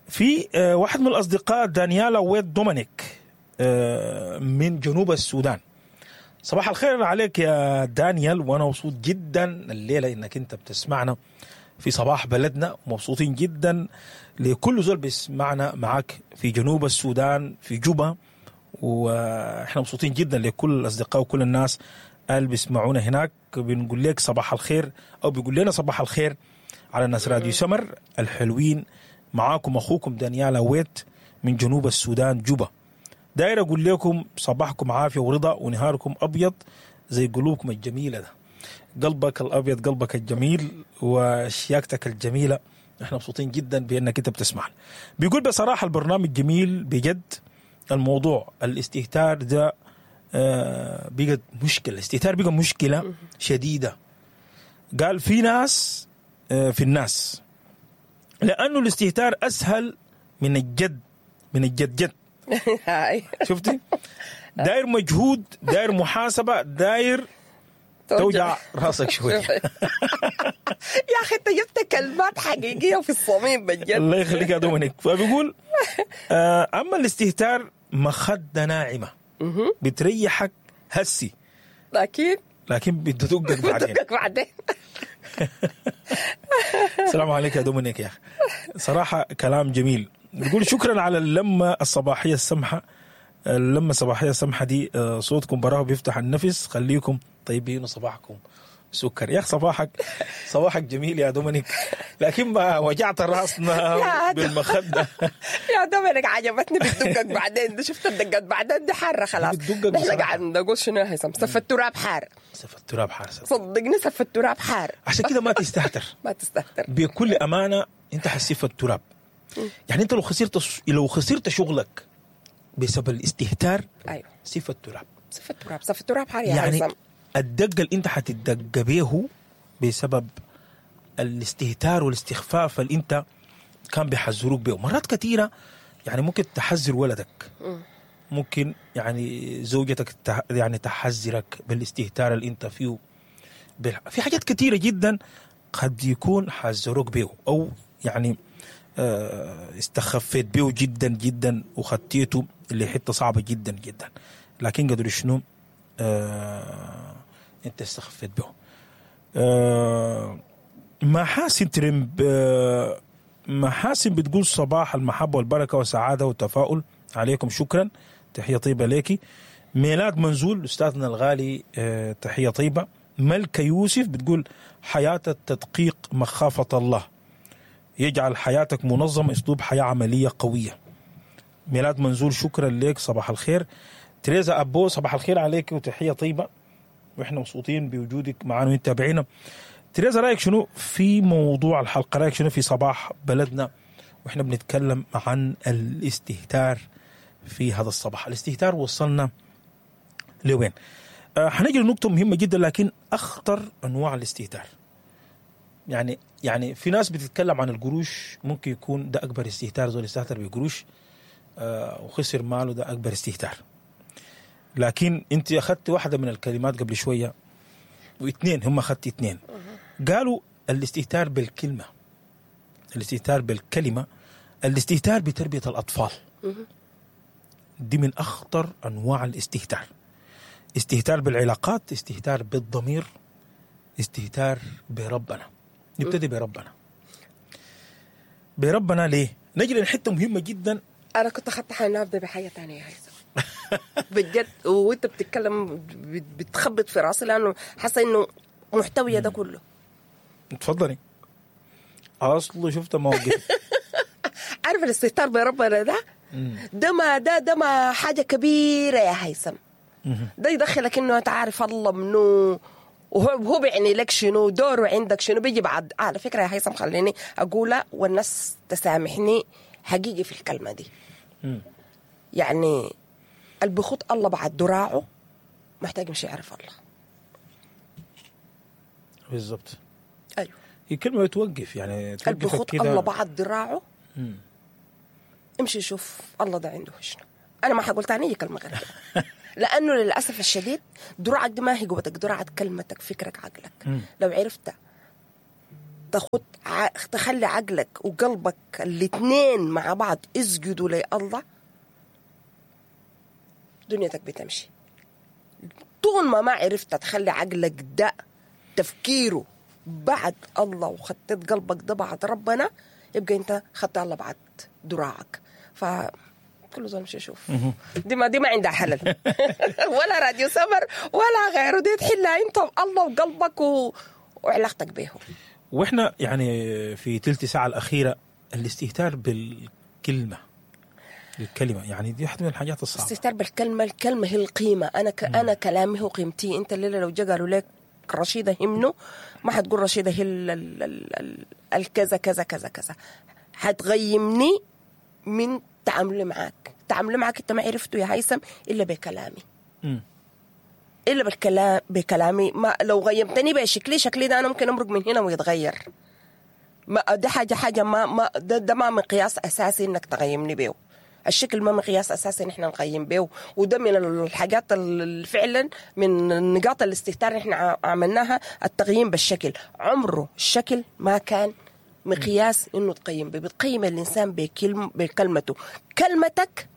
في واحد من الاصدقاء دانيالا ويت دومينيك من جنوب السودان. صباح الخير عليك يا دانيال، وانا مبسوط جدا الليلة انك انت بتسمعنا في صباح بلدنا، ومبسوطين جدا لكل زول بيسمعنا معاك في جنوب السودان في جوبا، واحنا مبسوطين جدا لكل الاصدقاء وكل الناس اللي بيسمعونا هناك. بنقول لك صباح الخير، او بيقول لنا صباح الخير على الناس راديو سمر الحلوين. معاكم اخوكم دانيالا ويت من جنوب السودان جوبا. داير اقول لكم صباحكم عافية ورضا ونهاركم ابيض زي قلوبكم الجميلة ده. قلبك الابيض، قلبك الجميل، وشياكتك الجميلة. احنا مبسوطين جدا بانك انت بتسمعنا. بيقول بصراحة البرنامج جميل بجد. الموضوع الاستهتار ده بقت مشكلة، الاستهتار بقى مشكلة شديدة. قال في ناس في الناس، لانه الاستهتار اسهل من الجد، من الجد جد. شفتي؟ داير مجهود، داير محاسبه، داير توجع راسك شوية. يا اخي انت جبت كلمات حقيقية في الصميم بجد. الله يخليك يا دومينيك. فبيقول اما الاستهتار مخده ناعمة بتريحك هسي، لكن بتدقك بعدين. بتدقك بعدين. السلام عليك يا دومينيك يا اخي، صراحة كلام جميل. بيقول شكرا على اللمة الصباحية السمحة، اللمة الصباحية السمحة دي صوتكم براه بيفتح النفس. خليكم طيبين وصباحكم سكر. يا اخي صباحك جميل يا دومينيك، لكن ما وجعت راسنا بالمخده. يا دومينيك عجبتني بتدقك بعدين دي، شفت الدقات بعدين دي حارة خلاص. نحن قاعد نقول شنو يا هيثم؟ سف التراب حار، سف التراب حار، صدقني سف التراب حار. عشان كده ما تستهتر. ما تستهتر بكل امانه، انت حسيف التراب. يعني انت لو خسرت شغلك بسبب الاستهتار، ايوه سف التراب، سف التراب، سف التراب حار يا يعني هيثم. الدقة اللي انت حتدق بيه بسبب الاستهتار والاستخفاف اللي انت كان بيحذروك بيه مرات كثيرة. يعني ممكن تحذر ولدك، ممكن يعني زوجتك يعني تحذرك بالاستهتار اللي انت فيه. في حاجات كثيرة جدا قد يكون حذروك بيه، او يعني استخفيت بيه جدا جدا وخطيته اللي حتة صعبة جدا جدا، لكن قدر شنو انت استخفيت به. محاسن ترمب، محاسن بتقول صباح المحبة والبركة والسعادة والتفاؤل عليكم، شكرا، تحية طيبة ليكي. ميلاد منزول أستاذنا الغالي، تحية طيبة. ملكة يوسف بتقول حياة التدقيق مخافة الله، يجعل حياتك منظمة، أسلوب حياة عملية قوية. ميلاد منزول شكرا لك، صباح الخير. تريزا أبو صباح الخير عليك وتحية طيبة، وإحنا مبسوطين بوجودك معنا وانت تابعينا. تريزا رأيك شنو في موضوع الحلقة؟ رأيك شنو في صباح بلدنا وإحنا بنتكلم عن الاستهتار في هذا الصباح؟ الاستهتار وصلنا لوين؟ حنجي لنقطة مهمة جدا، لكن أخطر أنواع الاستهتار. يعني في ناس بتتكلم عن القروش، ممكن يكون ده أكبر استهتار، زول استهتر بقروش وخسر ماله، ده أكبر استهتار. لكن انت اخذت واحدة من الكلمات قبل شوية، واثنين هم اخذت اثنين، قالوا الاستهتار بالكلمة، الاستهتار بالكلمة، الاستهتار بتربيه الاطفال. دي من اخطر انواع الاستهتار. استهتار بالعلاقات، استهتار بالضمير، استهتار بربنا. نبتدي بربنا. بربنا ليه؟ نجي لحته مهمة جدا. انا كنت اخذت حالي ابدا بحاجة ثانية يا هيثم بجد، وانت بتتكلم بتخبط في راسي لانه حاسه انه محتويه ده كله. تفضلي. اصله شفت موقف. عارف الاستهتار بربنا ده ده ما ده ما حاجة كبيرة يا هيثم. ده يدخلك انه انت عارف الله منو، وهو بيعني لك شنو، دوره عندك شنو، بيجي بعد. على فكرة يا هيثم خليني اقولها والناس تسامحني حقيقي في الكلمة دي. يعني اللي بخط الله بعد دراعه محتاج مش يعرف الله. بالضبط. ايوه. هي كلمة بتوقف، يعني اللي توقفك بيخط كده. الله بعد ذراعه. امشي شوف الله ده عنده شنو. انا ما حقول تاني كلمة غير كده، لانه للاسف الشديد دراعك دي ما هي قوتك، دراعك كلمتك، فكرك، عقلك. لو عرفت تاخد تخلي عقلك وقلبك الاثنين مع بعض اسجدوا لله، دنيتك بتمشي. طول ما عرفت تخلي عقلك ده تفكيره بعد الله وخطيت قلبك ده بعد ربنا، يبقى انت خدت الله بعد دراعك. ف كل زول مش يشوف دي ما عندها حلل ولا راديو سمر ولا غيره، دي تحلها انت الله وقلبك وعلاقتك به. واحنا يعني في تلت ساعة الأخيرة الاستهتار بالكلمة، الكلمة يعني دي واحدة من الحاجات الصعبة. الاستهتار بالكلمة، الكلمة هي القيمة. أنا أنا كلامي هو قيمتي. أنت الليلة لو جا قالوا لك رشيدة هي منه، ما حتقول رشيدة هي الكذا كذا كذا كذا. حتغيمني من تعاملي معاك. تعاملي معاك أنت ما عرفته يا هيثم إلا بكلامي. إلا بالكلام، بكلامي. ما لو غيمتني بشكلي، شكلي ده أنا ممكن أمرق من هنا ويتغير. ما ده حاجة ما ده ما مقياس أساسي إنك تغيمني بيه. الشكل ما مقياس أساسي إن إحنا نقيم بيه، وده من الحاجات اللي فعلا من نقاط الاستهتار اللي إحنا عملناها، التقييم بالشكل. عمره الشكل ما كان مقياس إنه تقيم بيه. بتقيم الإنسان بكلمته. كلمتك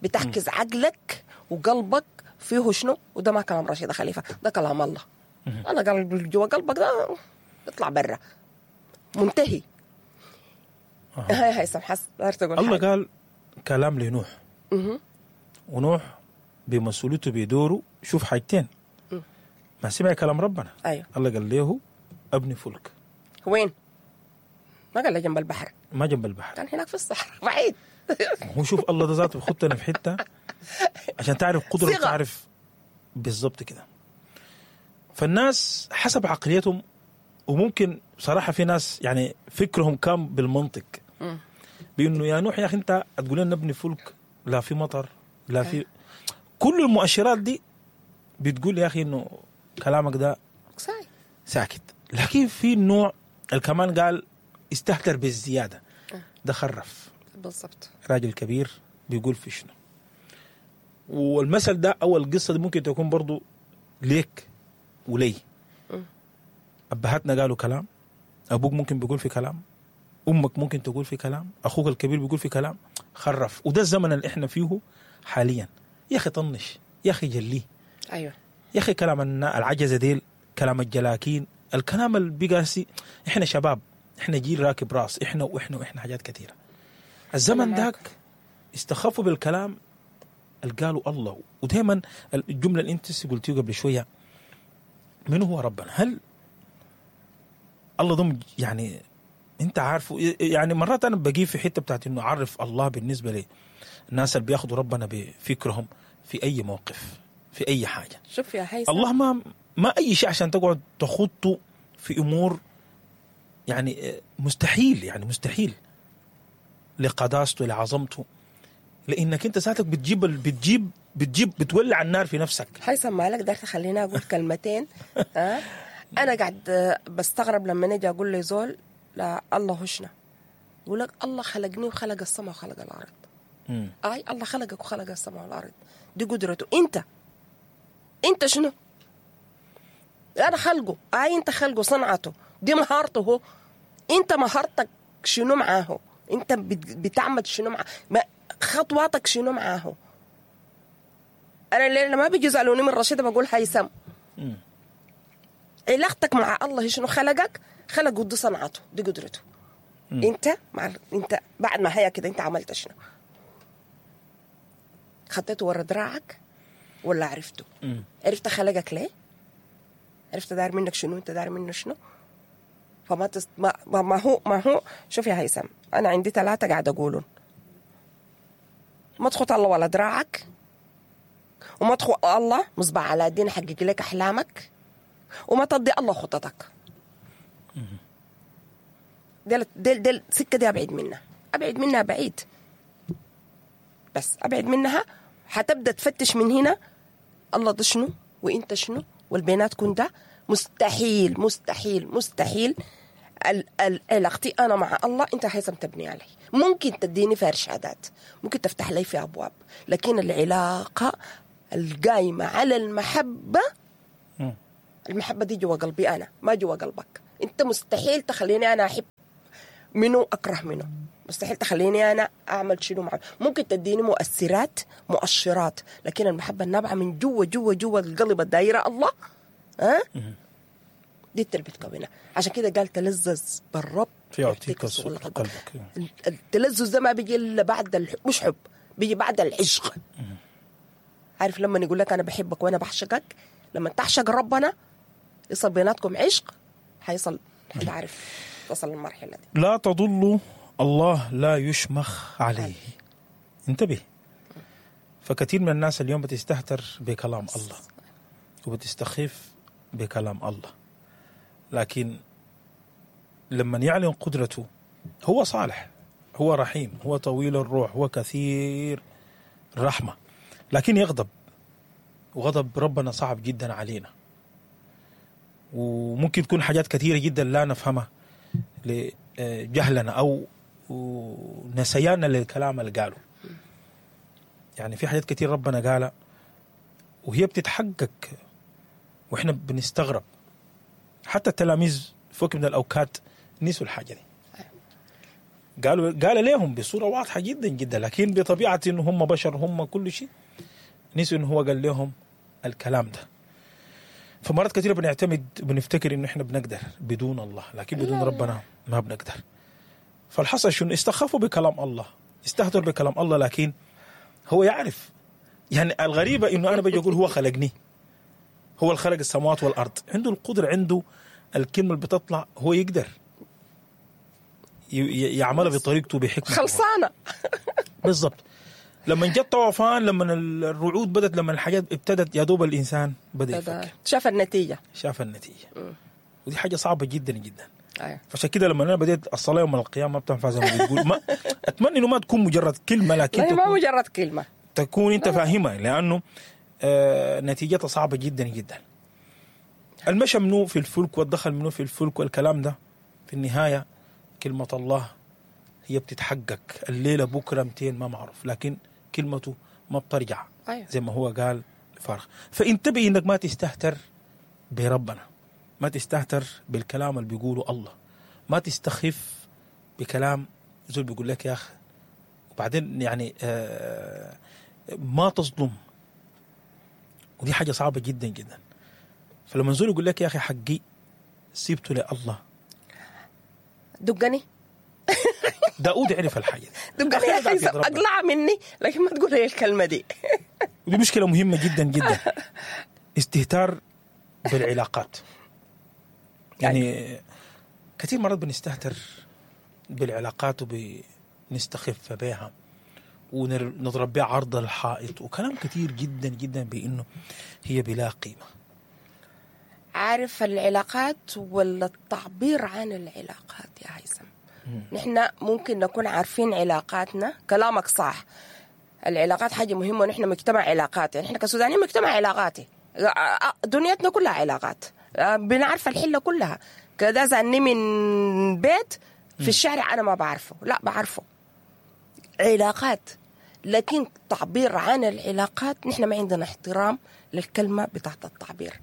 بتعكس عقلك وقلبك فيه شنو. وده ما كلام رشيدة خليفة، ده كلام الله. أنا قلب جوا قلبك ده يطلع برا منتهي. هاي هاي سمحس تقول الله قال كلام لنوح، ونوح بمسؤوليته بدوره. شوف حاجتين، ما سمع كلام ربنا. أيوه. الله قال له ابني فلك. وين؟ ما قال له جنب البحر، ما جنب البحر، كان هناك في الصحراء بعيد. هو شوف الله ده ذاته بيخطنا في حتة عشان تعرف قدرة، تعرف بالضبط كده. فالناس حسب عقليتهم، وممكن صراحة في ناس يعني فكرهم كان بالمنطق بأنه يا نوح يا أخي أنت تقول لنا نبني فلك، لا في مطر لا في كل المؤشرات دي بتقول يا أخي إنه كلامك ده ساكت. لكن في نوع الكمان قال استهتر بالزيادة، ده خرف بالضبط. راجل كبير بيقول في شنو. والمثل ده أو القصة دي ممكن تكون برضو ليك ولي. أبهاتنا قالوا كلام، أبوك ممكن بيقول في كلام، أمك ممكن تقول في كلام، أخوك الكبير بيقول في كلام، خرف. وده الزمن اللي إحنا فيه حاليا. يا أخي طنش، يا أخي جليه، أيوة يا أخي كلام العجزة ديل، كلام الجلاكين، الكلام اللي بقاسي. إحنا شباب، إحنا جيل راكب راس، إحنا وإحنا وإحنا حاجات كثيرة. الزمن داك استخفوا بالكلام اللي قالوا الله. ودائما الجملة اللي أنت قلتيه قبل شوية، من هو ربنا؟ هل الله ضم يعني انت عارفه؟ يعني مرات انا بجي في حتة بتاعت انه اعرف الله بالنسبة لي الناس اللي بياخدوا ربنا بفكرهم في اي موقف في اي حاجة. شوف يا هيثم، الله ما اي شيء عشان تقعد تخطه في امور يعني مستحيل، يعني مستحيل لقداسته لعظمته، لانك انت ساعتك بتجيب بتجيب بتجيب بتولع النار في نفسك. هيثم مالك داير تخليني اقول كلمتين؟ ها انا قاعد بستغرب لما نجي اقول لي زول لا الله هشنا، يقول لك الله خلقني وخلق السماء وخلق الارض. اي الله خلقك وخلق السماء والارض، دي قدرته. انت شنو؟ انا خلقه. اي انت خلقه، صنعته، دي مهارته هو. انت مهارتك شنو معاه؟ انت بتعمل شنو معاه؟ خطواتك شنو معاه؟ انا اللي ما بيجي يسالوني من رشيده بقول هيثم، علاقتك مع الله شنو؟ خلقك، خلقه، دي صنعته، دي قدرته. انت مع انت بعد ما هي كده انت عملت شنو؟ خطيته ورا دراعك ولا عرفته؟ عرفت خلقك ليه؟ عرفت داير منك شنو؟ انت داير منه شنو؟ فما تست... ما... ما هو ما هو شوف يا هيثم، انا عندي 3 قاعد اقولهم: ما تخط الله ولا دراعك، وما تخط الله مصباح على الدين حقق لك احلامك، وما تضي الله خططك. دل دل دل سكة دي ابعد منها، ابعد منها بعيد، بس ابعد منها. حتبدا تفتش من هنا الله ده شنو وانت شنو والبينات كن ده. مستحيل مستحيل مستحيل علاقتي انا مع الله انت هيثم تبني علي. ممكن تديني في ارشادات، ممكن تفتح لي في ابواب، لكن العلاقة القايمة على المحبة، المحبة دي جوا قلبي انا، ما جوا قلبك انت. مستحيل تخليني انا احب منو اكره منو، مستحيل تخليني انا اعمل شنو معه. ممكن تديني مؤثرات مؤشرات، لكن المحبة النابعه من جوا جوا جوا القلب الدايرة الله، ها دي اللي بتكونها. عشان كده قال تلذذ بالرب فيعطيك سؤل قلبك. التلذذ ده ما بيجي الا بعد مش حب، بيجي بعد العشق. عارف لما يقول لك انا بحبك وانا بعشقك، لما تعشق ربنا يصل بيناتكم عشق، حيصل حتعرف تصل للمرحلة دي. لا تضل الله لا يشمخ عليه. انتبه، فكثير من الناس اليوم بتستهتر بكلام الله وبتستخف بكلام الله، لكن لما يعلن قدرته هو صالح، هو رحيم، هو طويل الروح، هو كثير الرحمة، لكن يغضب، وغضب ربنا صعب جدا علينا، وممكن تكون حاجات كثيرة جدا لا نفهمها لجهلنا أو نسياننا للكلام اللي قاله. يعني في حاجات كثير ربنا قالها وهي بتتحقق وإحنا بنستغرب. حتى التلاميذ فوق من الأوقات نسوا الحاجة دي، قال لهم بصورة واضحة جدا جدا، لكن بطبيعة إنه هم بشر، هم كل شيء، نسوا إنه هو قال لهم الكلام ده. فمرات كثيرة بنعتمد بنفتكر إنه إحنا بنقدر بدون الله، لكن بدون ربنا ما بنقدر. فالحصل شنو؟ استخفوا بكلام الله، استهتروا بكلام الله، لكن هو يعرف. يعني الغريبة إنه أنا بجي أقول هو خلقني، هو الخلق السماوات والأرض، عنده القدرة، عنده الكلمة اللي بتطلع، هو يقدر يعملها بطريقته بحكمة خلصانة. بالضبط. لما جت طوفان، لما الرعود بدت، لما الحاجات ابتدت، يا دوب الإنسان بدأ يفكر، شاف النتيجة، شاف النتيجة. ودي حاجة صعبة جدا جدا. أيوة. فعشان كده لما أنا بديت الصلاة يوم القيامة ما بتنفع زي ما بتقول، ما أتمنى إنه ما تكون مجرد كلمة، لكن ما مجرد كلمة تكون أنت فاهمها، لأنه نتيجتها صعبة جدا جدا. المشى منه في الفلك والدخل منه في الفلك والكلام ده، في النهاية كلمة الله هي بتتحقق. الليلة بكرة 200 ما معروف، لكن كلمته ما بترجع. أيوة. زي ما هو قال فارغ. فانتبه انك ما تستهتر بربنا، ما تستهتر بالكلام اللي بيقوله الله، ما تستخف بكلام زول بيقول لك يا أخي. وبعدين يعني ما تظلم، ودي حاجة صعبة جدا جدا. فلما زول يقول لك يا أخي حقي سيبته لله، دقني. داود عرف الحاجة دي، دقني يا أخي، أقلع مني، لكن ما تقول هي الكلمة دي. ودي مشكلة مهمة جدا جدا، استهتار بالعلاقات. يعني كثير مرات بنستهتر بالعلاقات وبنستخف بها ونضرب بها عرض الحائط وكلام كثير جدا جدا بأنه هي بلا قيمة. عارف العلاقات ولا التعبير عن العلاقات يا هيثم؟ نحن ممكن نكون عارفين علاقاتنا، كلامك صح، العلاقات حاجة مهمة، ونحن مجتمع علاقاتي، نحن كسودانيين مجتمع علاقاتي، دنيتنا كلها علاقات، بنعرف الحلة كلها. كذا زعني من بيت في الشارع أنا ما بعرفه، لا بعرفه، علاقات. لكن تعبير عن العلاقات نحن ما عندنا احترام للكلمة بتاعت التعبير.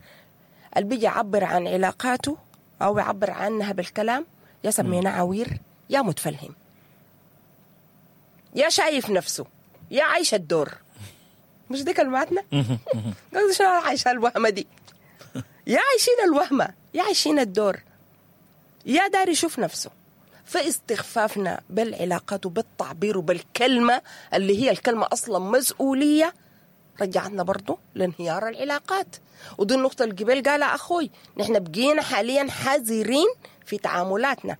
اللي بيجي يعبر عن علاقاته أو يعبر عنها بالكلام يا سمينا عوير، يا متفلهم، يا شايف نفسه، يا عايش الدور. مش دي كلماتنا؟ قصدي شنو عايشة الوهمة دي؟ يا عايشين الوهمة، يا عايشين الدور، يا داري يشوف نفسه. فاستخفافنا بالعلاقات وبالتعبير وبالكلمة اللي هي الكلمة أصلا مسؤولية، رجعتنا برضو لانهيار العلاقات. ودي النقطة اللي قبل قالها أخوي، نحن بقينا حاليا حذرين في تعاملاتنا.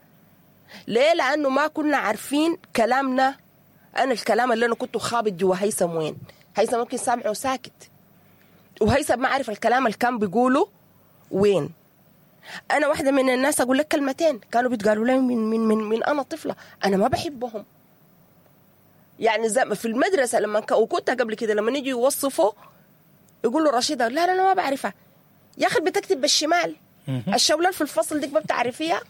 ليه؟ لأنه ما كنا عارفين كلامنا. أنا الكلام اللي أنا كنت خابط جوا هيثم وين، هيثم ممكن سامعه ساكت، وهيثم ما عارف الكلام اللي كان بيقوله وين. أنا واحدة من الناس أقول لك كلمتين كانوا بيتقالوا لي من من من من أنا طفلة، أنا ما بحبهم. يعني زي في المدرسة لما وكنت قبل كده لما نيجي يوصفوا يقولوا رشيدة، لا لا أنا ما بعرفها يا أخي، بتكتب بالشمال، الشولان في الفصل ديك ما بتعرفيها.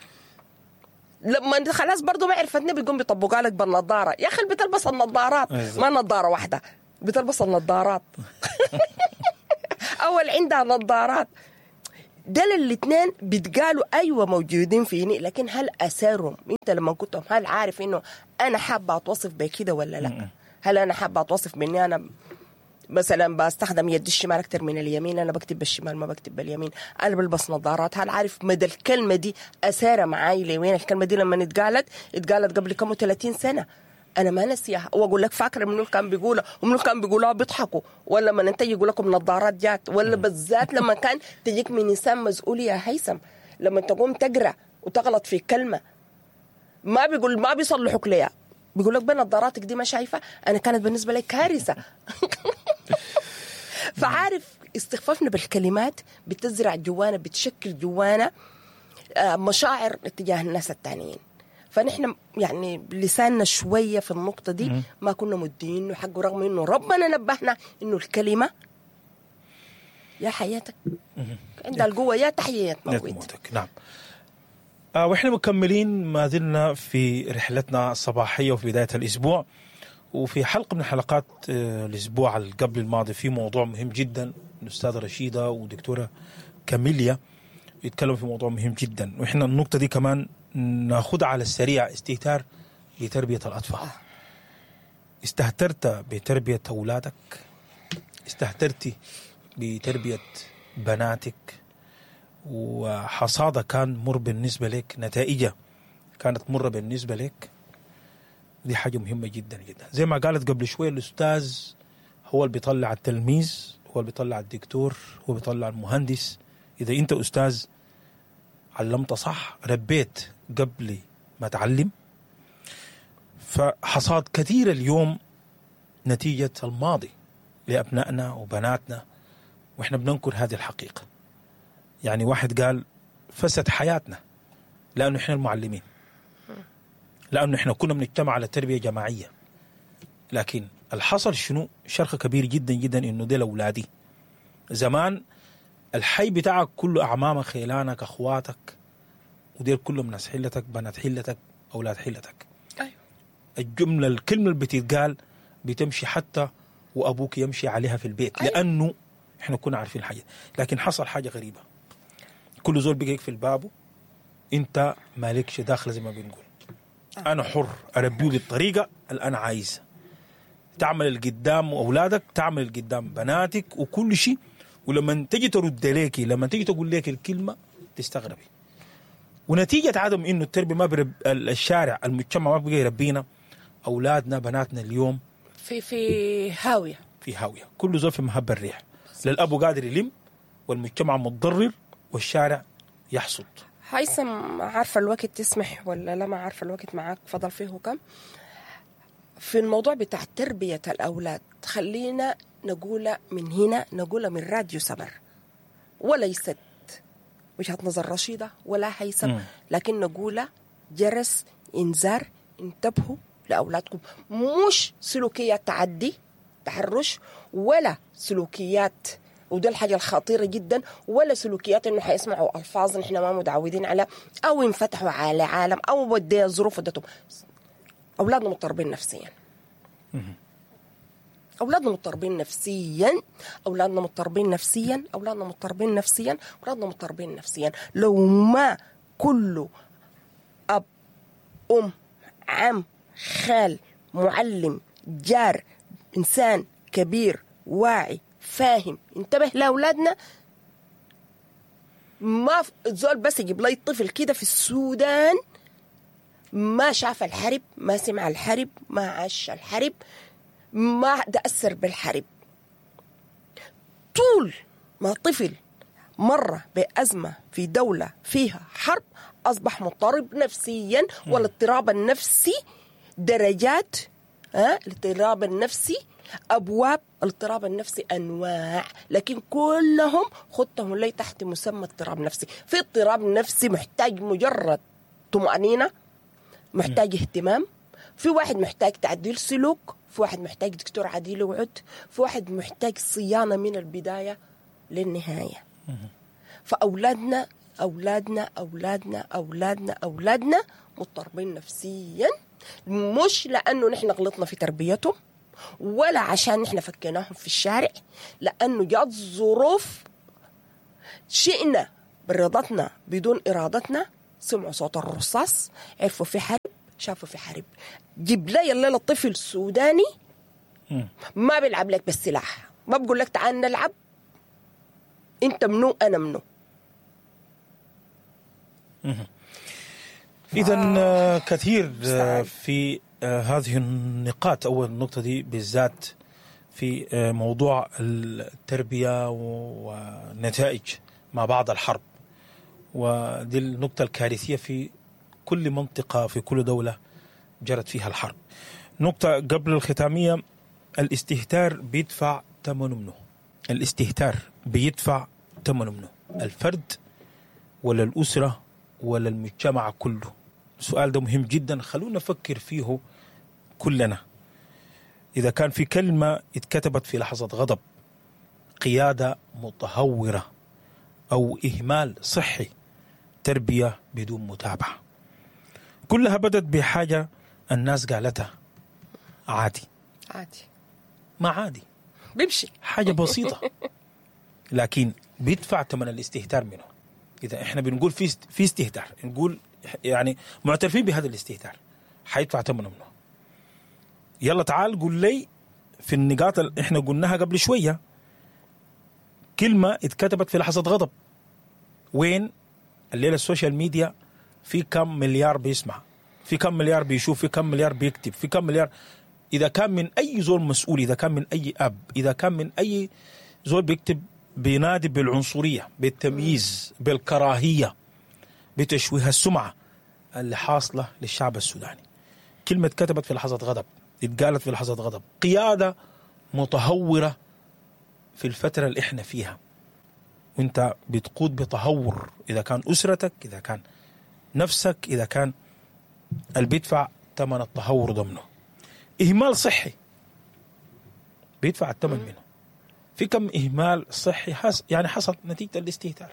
لما خلاص برضه ما عرفتني بيقوم بيطبقها لك بالنظاره. يا اخي بتلبس النظارات، ما نظاره واحدة، بتلبس النظارات. اول عندها نظارات. دول الاثنين بيتقالوا ايوه موجودين فيني، لكن هل اثرهم انت لما كنتهم؟ هل عارف انه انا حابة اتوصف بكده ولا لا؟ هل انا حابة اتوصف باني انا مثلا بستخدم يدي الشمال اكثر من اليمين، انا بكتب بالشمال ما بكتب باليمين، انا بلبس نظارات؟ هل عارف مدى الكلمة دي اثاره معاي لوين؟ الكلمة دي لما اتقالت قبل كم 30 سنة، انا ما نسيها. واقول لك فاكره منو كان بيقولها ومنو كان بيقولها بيضحكوا، ولا لما انت يقول لكم نظارات جات، ولا بالذات لما كان تجيك من انسان مسؤول يا هيثم، لما تقوم تقرا وتغلط في كلمة ما بيقول، ما بيصلحوك ليها، بيقول لك بنظاراتك دي ما شايفه. انا كانت بالنسبة لي كارثة. فعارف استخفافنا بالكلمات بتزرع جوانا، بتشكل جوانا مشاعر اتجاه الناس التانيين. فنحن يعني لساننا شوية في النقطة دي ما كنا مدينة حقه، رغم انه ربنا نبهنا انه الكلمة يا حياتك عندها القوة، يا تحية تموتك. نعم. واحنا مكملين ما زلنا في رحلتنا الصباحية وفي بداية الأسبوع، وفي حلقة من حلقات الأسبوع قبل الماضي في موضوع مهم جدا، الأستاذة رشيدة ودكتورة كاميليا يتكلموا في موضوع مهم جدا، وإحنا النقطة دي كمان ناخدها على السريع: استهتار بتربية الأطفال. استهترت بتربية أولادك، استهترتي بتربية بناتك، وحصادة كان مر بالنسبة لك، نتائجه كانت مرة بالنسبة لك. دي حاجة مهمة جدا جدا. زي ما قالت قبل شوية الأستاذ هو اللي بيطلع التلميذ، هو اللي بيطلع الدكتور، هو بيطلع المهندس. إذا أنت أستاذ علمت صح، ربيت قبل ما تعلم. فحصاد كثير اليوم نتيجة الماضي لأبنائنا وبناتنا، وإحنا بننكر هذه الحقيقة. يعني واحد قال فسد حياتنا لأنه إحنا المعلمين، لأنه إحنا كنا بنجتمع على تربية جماعية. لكن الحصل شنو؟ شرخ كبير جدا جدا إنه ديل أولادي. زمان الحي بتاعك كله أعمامك، خيلانك، أخواتك، وديل كلهم ناس حلتك، بنات حلتك، أولاد حلتك. أيوه. الجملة، الكلمة اللي بتتقال بتمشي حتى وأبوك يمشي عليها في البيت. أيوه. لأنه إحنا كنا عارفين حاجة. لكن حصل حاجة غريبة، كل زول بيجيك في الباب، أنت مالكش داخل زي ما بنقول. أنا حر أربيه بالطريقة اللي أنا عايزها. تعمل القدام وأولادك، تعمل القدام بناتك وكل شيء، ولما تجي ترد ليكي، لما تيجي تقول لك الكلمة تستغربي. ونتيجة عدم إنه التربية ما برب الشارع، المجتمع ما بقى يربينا أولادنا بناتنا اليوم في هاوية، في هاوية. كل زول في مهب الريح، للأبو قادر يلم، والمجتمع متضرر، والشارع يحصد. هيثم، عارفة الوقت تسمح ولا لا؟ ما عارفة الوقت معاك فضل فيه كم في الموضوع بتاع تربية الأولاد. خلينا نقول من هنا، نقول من راديو سمر، وليست وجهة نظر رشيدة ولا هيثم، لكن نقول جرس إنذار، انتبهوا لأولادكم. مش سلوكيات تعدي تحرش، ولا سلوكيات، وده الحاجة الخطيرة جدا، ولا سلوكيات انه حيسمعوا ألفاظ نحن ما متعودين على، أو ينفتحوا على عالم، أو ودي ظروف ودتهم. أولادنا مضطربين نفسيا. أولادنا مضطربين نفسيا، أولادنا مضطربين نفسيا، أولادنا مضطربين نفسيا، أولادنا مضطربين نفسيا. لو ما كله أب، أم، عم، خال، معلم، جار، إنسان كبير واعي فاهم انتبه لأولادنا. ما زول بس يجيب لي طفل كده في السودان ما شاف الحرب، ما سمع الحرب، ما عاش الحرب، ما تأثر بالحرب. طول ما طفل مر بأزمة في دولة فيها حرب أصبح مضطرب نفسيا. والاضطراب النفسي درجات، الاضطراب النفسي أبواب، الاضطراب النفسي أنواع، لكن كلهم خدتهم لي تحت مسمى اضطراب نفسي. في اضطراب نفسي محتاج مجرد طمأنينة، محتاج اهتمام، في واحد محتاج تعديل سلوك، في واحد محتاج دكتور عديل وعد، في واحد محتاج صيانة من البداية للنهاية. فأولادنا اولادنا اولادنا اولادنا اولادنا مضطربين نفسيا، مش لانه نحن غلطنا في تربيتهم ولا عشان نحن فكيناهم في الشارع، لانه جات ظروف شئنا برضتنا بدون ارادتنا، سمعوا صوت الرصاص، عرفوا في حرب، شافوا في حرب. جيب لي الليلة الطفل السوداني ما بيلعب لك بالسلاح، ما بقول لك تعال نلعب، انت منو انا منو. اذا كثير في هذه النقاط، او النقطة دي بالذات في موضوع التربية ونتائج ما بعد الحرب، ودي النقطة الكارثية في كل منطقة في كل دولة جرت فيها الحرب. نقطة قبل الختامية، الاستهتار بيدفع ثمنه منه. الاستهتار بيدفع ثمنه منه، الفرد ولا الأسرة ولا المجتمع كله؟ السؤال ده مهم جدا، خلونا نفكر فيه كلنا. إذا كان في كلمة اتكتبت في لحظة غضب، قيادة متهورة أو إهمال صحي، تربية بدون متابعة، كلها بدت بحاجة الناس قالتها عادي. عادي، ما عادي، بيمشي حاجة بسيطة، لكن بيدفع ثمن الاستهتار منه. إذا إحنا بنقول في استهتار، نقول يعني معترفين بهذا الاستهتار، حيدفع ثمنه منه. يلا تعال قول لي في النقاط اللي إحنا قلناها قبل شوية، كلمة اتكتبت في لحظة غضب، وين الليلة ال social media في كم مليار بيسمع، في كم مليار بيشوف، في كم مليار بيكتب، في كم مليار. إذا كان من أي زول مسؤول، إذا كان من أي أب، إذا كان من أي زول بيكتب، بينادي بالعنصرية، بالتمييز، بالكراهية، بتشويه السمعة اللي حاصلة للشعب السوداني. كلمة كتبت في لحظة غضب، اتقالت في لحظة غضب، قيادة متهورة في الفترة اللي احنا فيها، وانت بتقود بتهور، إذا كان أسرتك، إذا كان نفسك، إذا كان اللي بيدفع ثمن التهور ضمنه. إهمال صحي بيدفع الثمن منه. في كم إهمال صحي يعني حصل نتيجة الاستهتار.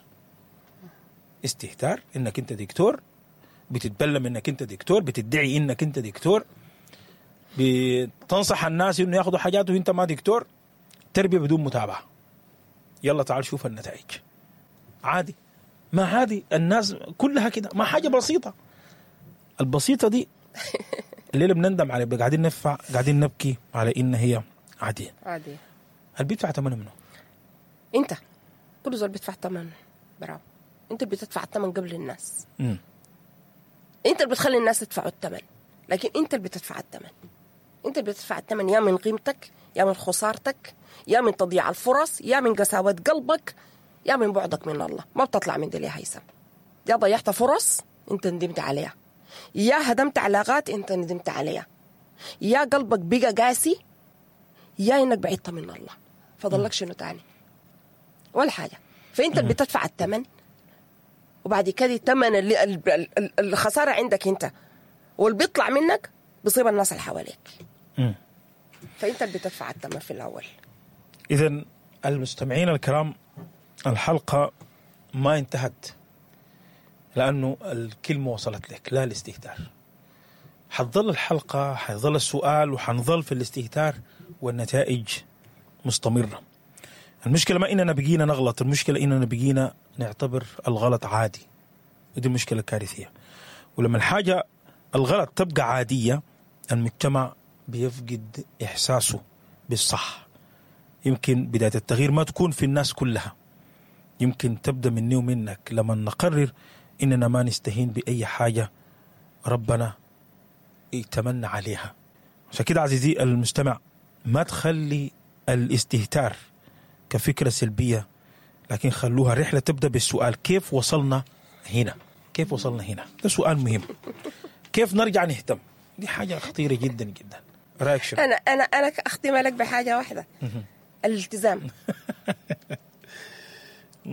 استهتار إنك أنت دكتور، بتتبلم إنك أنت دكتور، بتدعي إنك أنت دكتور، بتنصح الناس إنه ياخدوا حاجات وإنت ما دكتور. تربية بدون متابعة، يلا تعال شوف النتائج. عادي، ما عادي، الناس كلها كده، ما حاجة بسيطة. البسيطة دي الليلة بنندم عليه، قاعدين ندفع، قاعدين نبكي على إن هي عادية. عادية. هل بيدفع ثمنه منه؟ أنت كل زول بيدفع ثمن، براو. أنت اللي بتدفع الثمن قبل الناس. أنت اللي بتخلي الناس يدفعوا الثمن، لكن أنت اللي بتدفع الثمن. أنت اللي بتدفع الثمن، يا من قيمتك، يا من خسارتك، يا من تضييع الفرص، يا من قساوة قلبك، يا من بعدك من الله. ما بتطلع من دي يا هيثم. يا ضيعت فرص أنت ندمت عليها، يا هدمت علاقات أنت ندمت عليها، يا قلبك بقى قاسي، يا إنك بعدت من الله. فضلك شنو تاني؟ ولا حاجة. فأنت اللي بتدفع الثمن، وبعد كده الثمن اللي الخسارة عندك أنت، واللي بيطلع منك بيصيب الناس اللي حواليك. فأنت اللي بتدفع الثمن في الأول. إذن المستمعين الكرام، الحلقة ما انتهت لأنه الكلمة وصلت لك، لا الاستهتار. حتظل الحلقة، حيظل السؤال، وحنظل في الاستهتار والنتائج مستمرة. المشكلة ما إننا بقينا نغلط، المشكلة إننا بقينا نعتبر الغلط عادي، ودي مشكلة كارثية. ولما الحاجة الغلط تبقى عادية، المجتمع بيفقد إحساسه بالصح. يمكن بداية التغيير ما تكون في الناس كلها، يمكن تبدأ مني ومنك لما نقرر إننا ما نستهين بأي حاجة ربنا يتمنى عليها. عشان كده عزيزي المستمع، ما تخلي الاستهتار كفكرة سلبية، لكن خلوها رحلة تبدأ بالسؤال: كيف وصلنا هنا؟ كيف وصلنا هنا؟ ده سؤال مهم. كيف نرجع نهتم؟ دي حاجة خطيرة جدا جدا. رأيك شنو؟ أنا أختم لك بحاجة واحدة، الالتزام.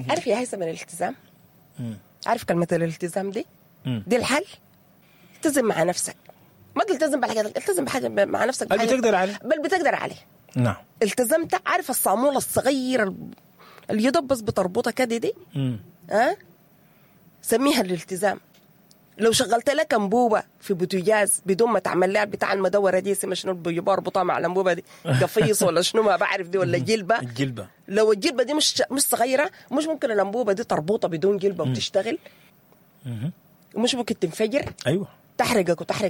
عارف يا هيثم الالتزام؟ عارف كلمة الالتزام دي؟ دي الحل. التزم مع نفسك، ما تلتزم بحاجة، التزم بحاجة مع نفسك، بل بتقدر عليه، بل بتقدر عليه. نعم. التزمت، عارف الصامولة الصغيرة اللي يدب بس بتربطها كده دي؟ سميها الالتزام. لو شغلت لك انبوبة في بوتجاز بدون ما تعمل لها بتاع المدوره دي، اسمها شنو اللي بربطها مع الانبوبة دي، قفيص ولا شنو ما بعرف دي، ولا جلبه. الجلبه. لو الجلبه دي مش صغيرة، مش ممكن الانبوبة دي تربطها بدون جلبه وتشتغل؟ مش ممكن تنفجر؟ ايوه. تحرقك وتحرق.